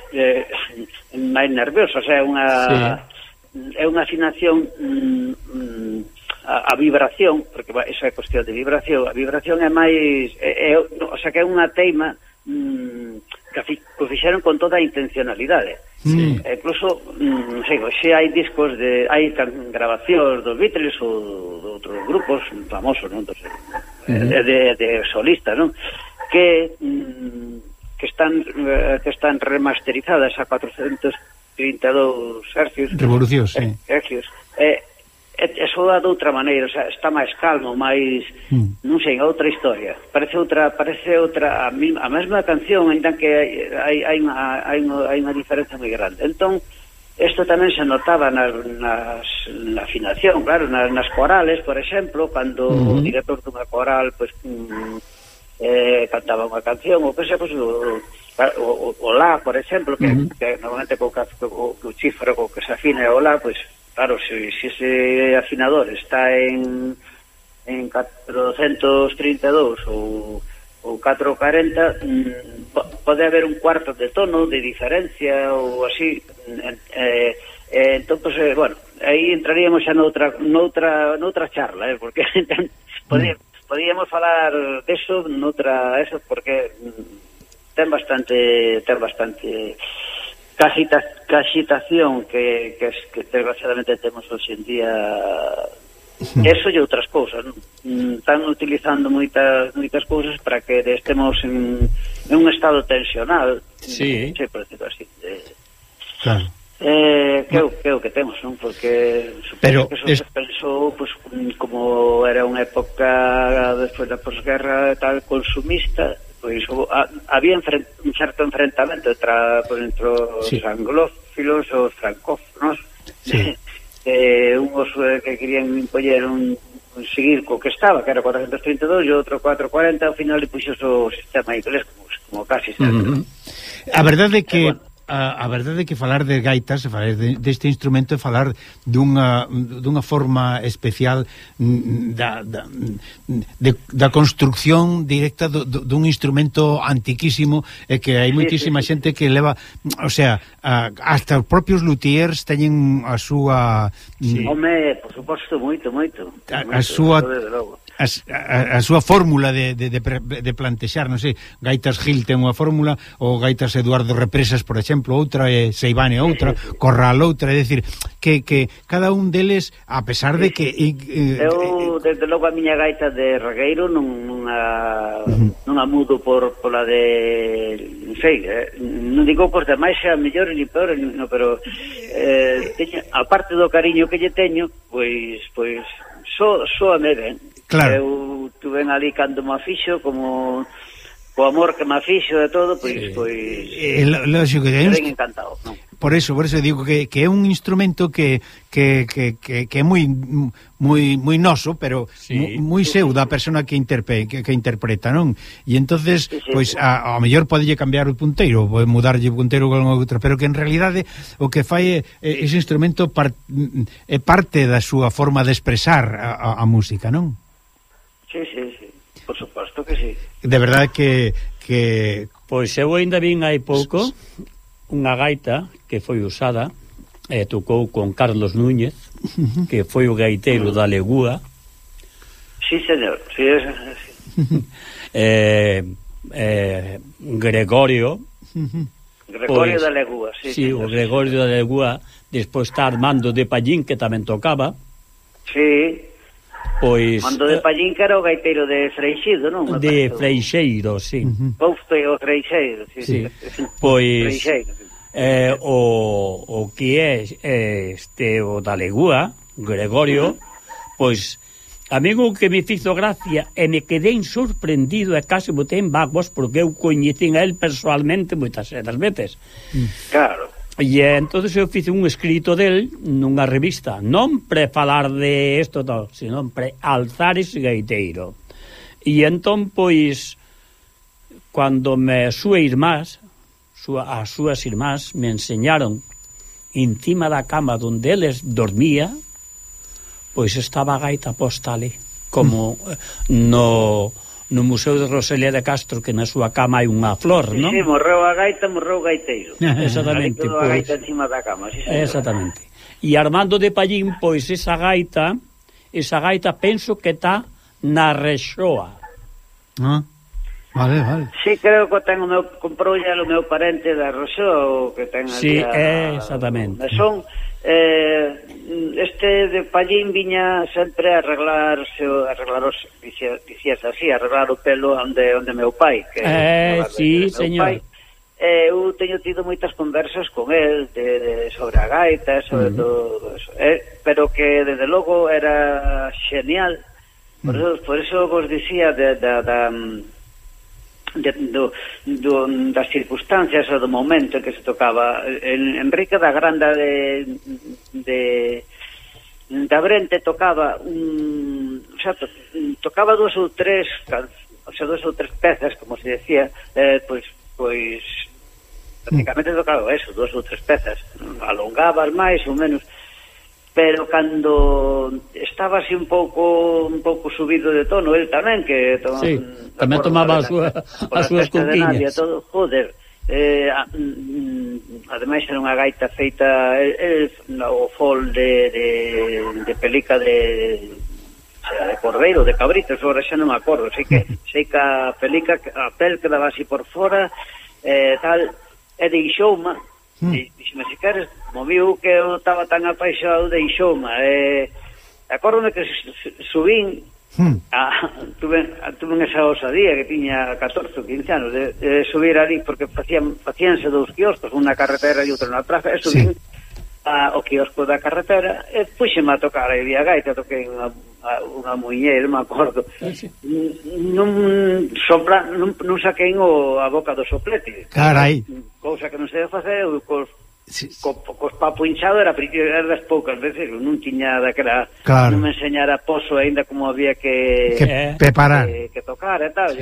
nerviosa, o sea, é unha afinación, a vibración, porque esa é cuestión de vibración, a vibración é máis, o sea, que é unha teima que fixeron con toda a intencionalidade. Incluso, non sei, xe hai discos hai grabacións dos Beatles ou de outros grupos famosos, non? De solistas, non? Que están remasterizadas a 432 Hz. Revolucións, soa de outra maneira, o sea, está máis calmo, máis, non sei, outra historia. Parece outra a mesma canción, ainda que hai unha diferencia moi grande. Entón, isto tamén se notaba na afinación, claro, nas corales, por exemplo, cando o director dunha coral cantaba unha canción, ou que se, o la, por exemplo, que normalmente co chifre co que se afina o la, claro, se ese afinador está en 432 ou 440, pode haber un cuarto de tono de diferencia ou así. Entón, bueno, aí entraríamos xa noutra charla, porque podíamos falar deso noutra, eso, porque ten bastante caxitación que desgraciadamente temos hoxe en día, eso e outras cousas, non? Están utilizando moitas cousas para que estemos en un estado tensional, por decirlo así. Claro. Que é o que temos, non? Porque supoño que eso se pensou, como era unha época despois da posguerra tal consumista, pois había un certo enfrentamento entre os anglófilos e os francófonos, unhos que querían impoñer seguir co que estaba, que era 432, e outro 440, ao final puxo o sistema inglés como casi sempre. A verdade é que a verdade é que falar de gaitas, falar deste instrumento, é falar dunha forma especial da construcción directa dun instrumento antiquísimo, e que hai moitísima xente que leva, o sea, hasta os propios luthiers teñen a súa... Home, por suposto, moito. A súa... A súa fórmula de plantexar, non sei, Gaitas Gil ten unha fórmula, ou Gaitas Eduardo Represas, por exemplo, outra, e Seivane outra, Corral outra, é dicir, que cada un deles, a pesar de que... Eu, desde logo, a miña gaita de regueiro non a mudo pola de sei, non digo que os demais sean mellores ni peores, no, pero a parte do cariño que lle teño, pois soame ben. Claro. Eu tuve ali cando me fixo, como o amor que me fixo de todo, pois lógico que ben encantado, non? Por eso digo que é un instrumento que é moi noso, pero moi seu da persona que interpreta, non? E entonces, pois ao mellor podelle cambiar o punteiro, pode mudarlle o punteiro con outro, pero que en realidade o que fai ese instrumento é parte da súa forma de expresar a música, non? Sí, por suposto que sí. De verdade que pois eu ainda vin hai pouco unha gaita que foi usada e tocou con Carlos Núñez, que foi o gaiteiro da Legúa. Sí, señor, sí. Gregorio pois, da Legúa, sí. Sí, o Gregorio da Legúa, despois está Armando de Pallín, que tamén tocaba. Sí. Pois Armando de Pallín, que era o gaiteiro de Freixedo, non? De Freixeiro, sí. Pousto o Freixeiro, sí. Pois o que é o da Legúa, Gregorio, pois a mí o que me fizo gracia e me quedei sorprendido e case botei en vaguas porque eu coñecín a él personalmente moitas veces. Claro. E entonces eu fice un escrito del nunha revista, non pre falar de isto todo, sino pre alzar ese gaiteiro. E entón, pois, cando as súas irmás me enseñaron encima da cama onde eles dormía, pois estaba a gaita posta ali, como no Museo de Rosalía de Castro, que na súa cama hai unha flor, non? Sí, morreu a gaita, morreu o gaiteiro. Exactamente. A gaita encima da cama, sí, señor. Exactamente. E Armando de Pallín, pois esa gaita penso que está na Rexoa. Vale. Sí, creo que ten comprou ya o meu parente da Rexoa, o que ten ali. Sí, exactamente. Son este de Pallín viña sempre a arreglar o pelo onde meu pai, que sí, señor. Eu teño tido moitas conversas con el sobre a gaita, sobre todo eso, pero que desde logo era genial. Por eso vos dicía das circunstancias ou do momento en que se tocaba. Enrique da Granda de Brente tocaba tocaba dúas ou tres pezas, como se decía, pois prácticamente tocaba eso, dúas ou tres pezas, alongabas máis ou menos, pero cando estaba así un pouco subido de tono, el tamén, que tamén tomaba as súas conquiñas. Joder, ademais era unha gaita feita o fol de pelica de cordeiro, de cabrito, agora xa non me acordo, sei que a pelica, a pel quedaba así por fora, tal, e deixouma. Dixeme, se queres, moviu que eu estaba tan apaixonado de Ixoma. Acórdome que subín tuve esa osadía que tiña 14 ou 15 anos de subir ali, porque facíanse dous quioscos, unha carretera e outra na praza, e subín ao quiosco da carretera e puxeme a tocar aí a gaita, toquei unha muñeira, me acordo. Non saquei a boca do soplete. Carai. Cousa que non sei facer, cos papo hinchado era das poucas veces, non tiña daquela, non me enseñara poso ainda como había que preparar, que tocar e tal.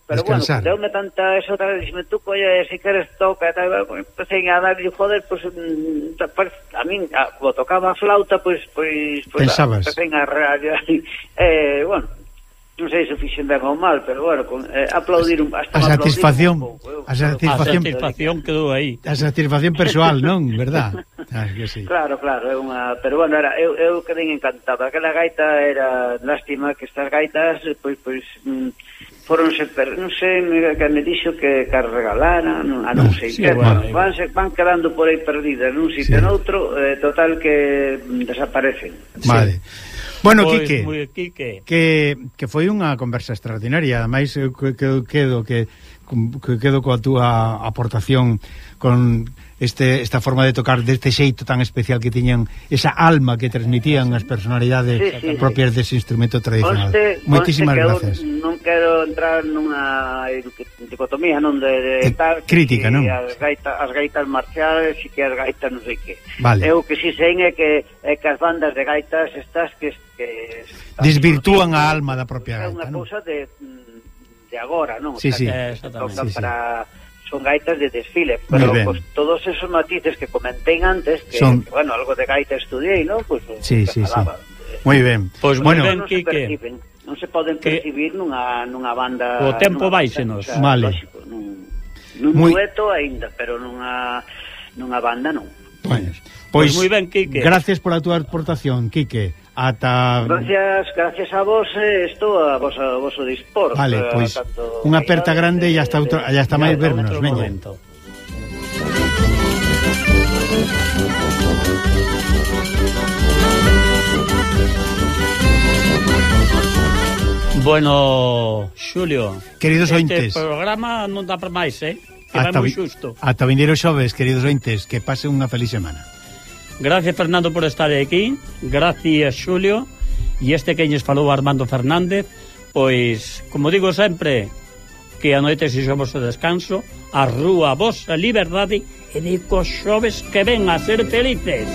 Pero descansar. Bueno, deume tanta eso, tal, dixeme tú, colla, se queres toca e tal, empecé a dar e joder, pues a min, como tocaba a flauta, pues pensabas. Empecé a bueno, non sei se fixen ben ou mal, pero bueno, aplaudir hasta a satisfacción, a satisfacción quedou aí. A satisfacción persoal, non, verdad? Que sí. Claro, é unha, pero bueno, eu quedei encantado. Aquela gaita era lástima que estas gaitas pois foronse, non sei, que me dixo que regalaran, non sei, van quedando por aí perdidas nun sitio noutro, total que desaparecen. Vale. Bueno, Quique, Quique, que foi unha conversa extraordinaria. Ademais, eu quedo que que quedo coa túa aportación con esta forma de tocar deste xeito tan especial que tiñan, esa alma que transmitían as personalidades propias dese instrumento tradicional. Moitísimas gracias. Non quero entrar nunha dicotomía, non de tal crítica, non? As gaitas marciales e que as gaitas non sei que. Vale. Eu que si sei é que as bandas de gaitas estas que desvirtúan a alma da propia gaita, non? É unha cousa de agora, non? Sí, sí. Exactamente. Son gaitas de desfile, pero pues, todos esos matices que comenté antes, que bueno, algo de gaita estudiei, ¿no? Pues, sí. Moi ben. Pois moi ben, Quique. Non se poden percibir nunha banda. O tempo váisenos. Vale. Lógico, nun dueto aínda, pero nunha banda non. Bueno, pois moi ben, Quique. Gracias por a túa aportación, Quique. Gracias a vos, a vosso dispor. Vale, pois unha aperta grande e hasta máis vernos, veña. Bueno, Xulio, queridos ointes, este programa non dá para máis, que vai moi xusto. Ata vindeiro xoves, queridos ointes, que pasen unha feliz semana. Gracias, Fernando, por estar aquí. Gracias, Xulio. E este que lles falou Armando Fernández, pois, como digo sempre, que a noite se xo vosso descanso, a rúa, a vosa liberdade, e de cos xoves que ven a ser felices.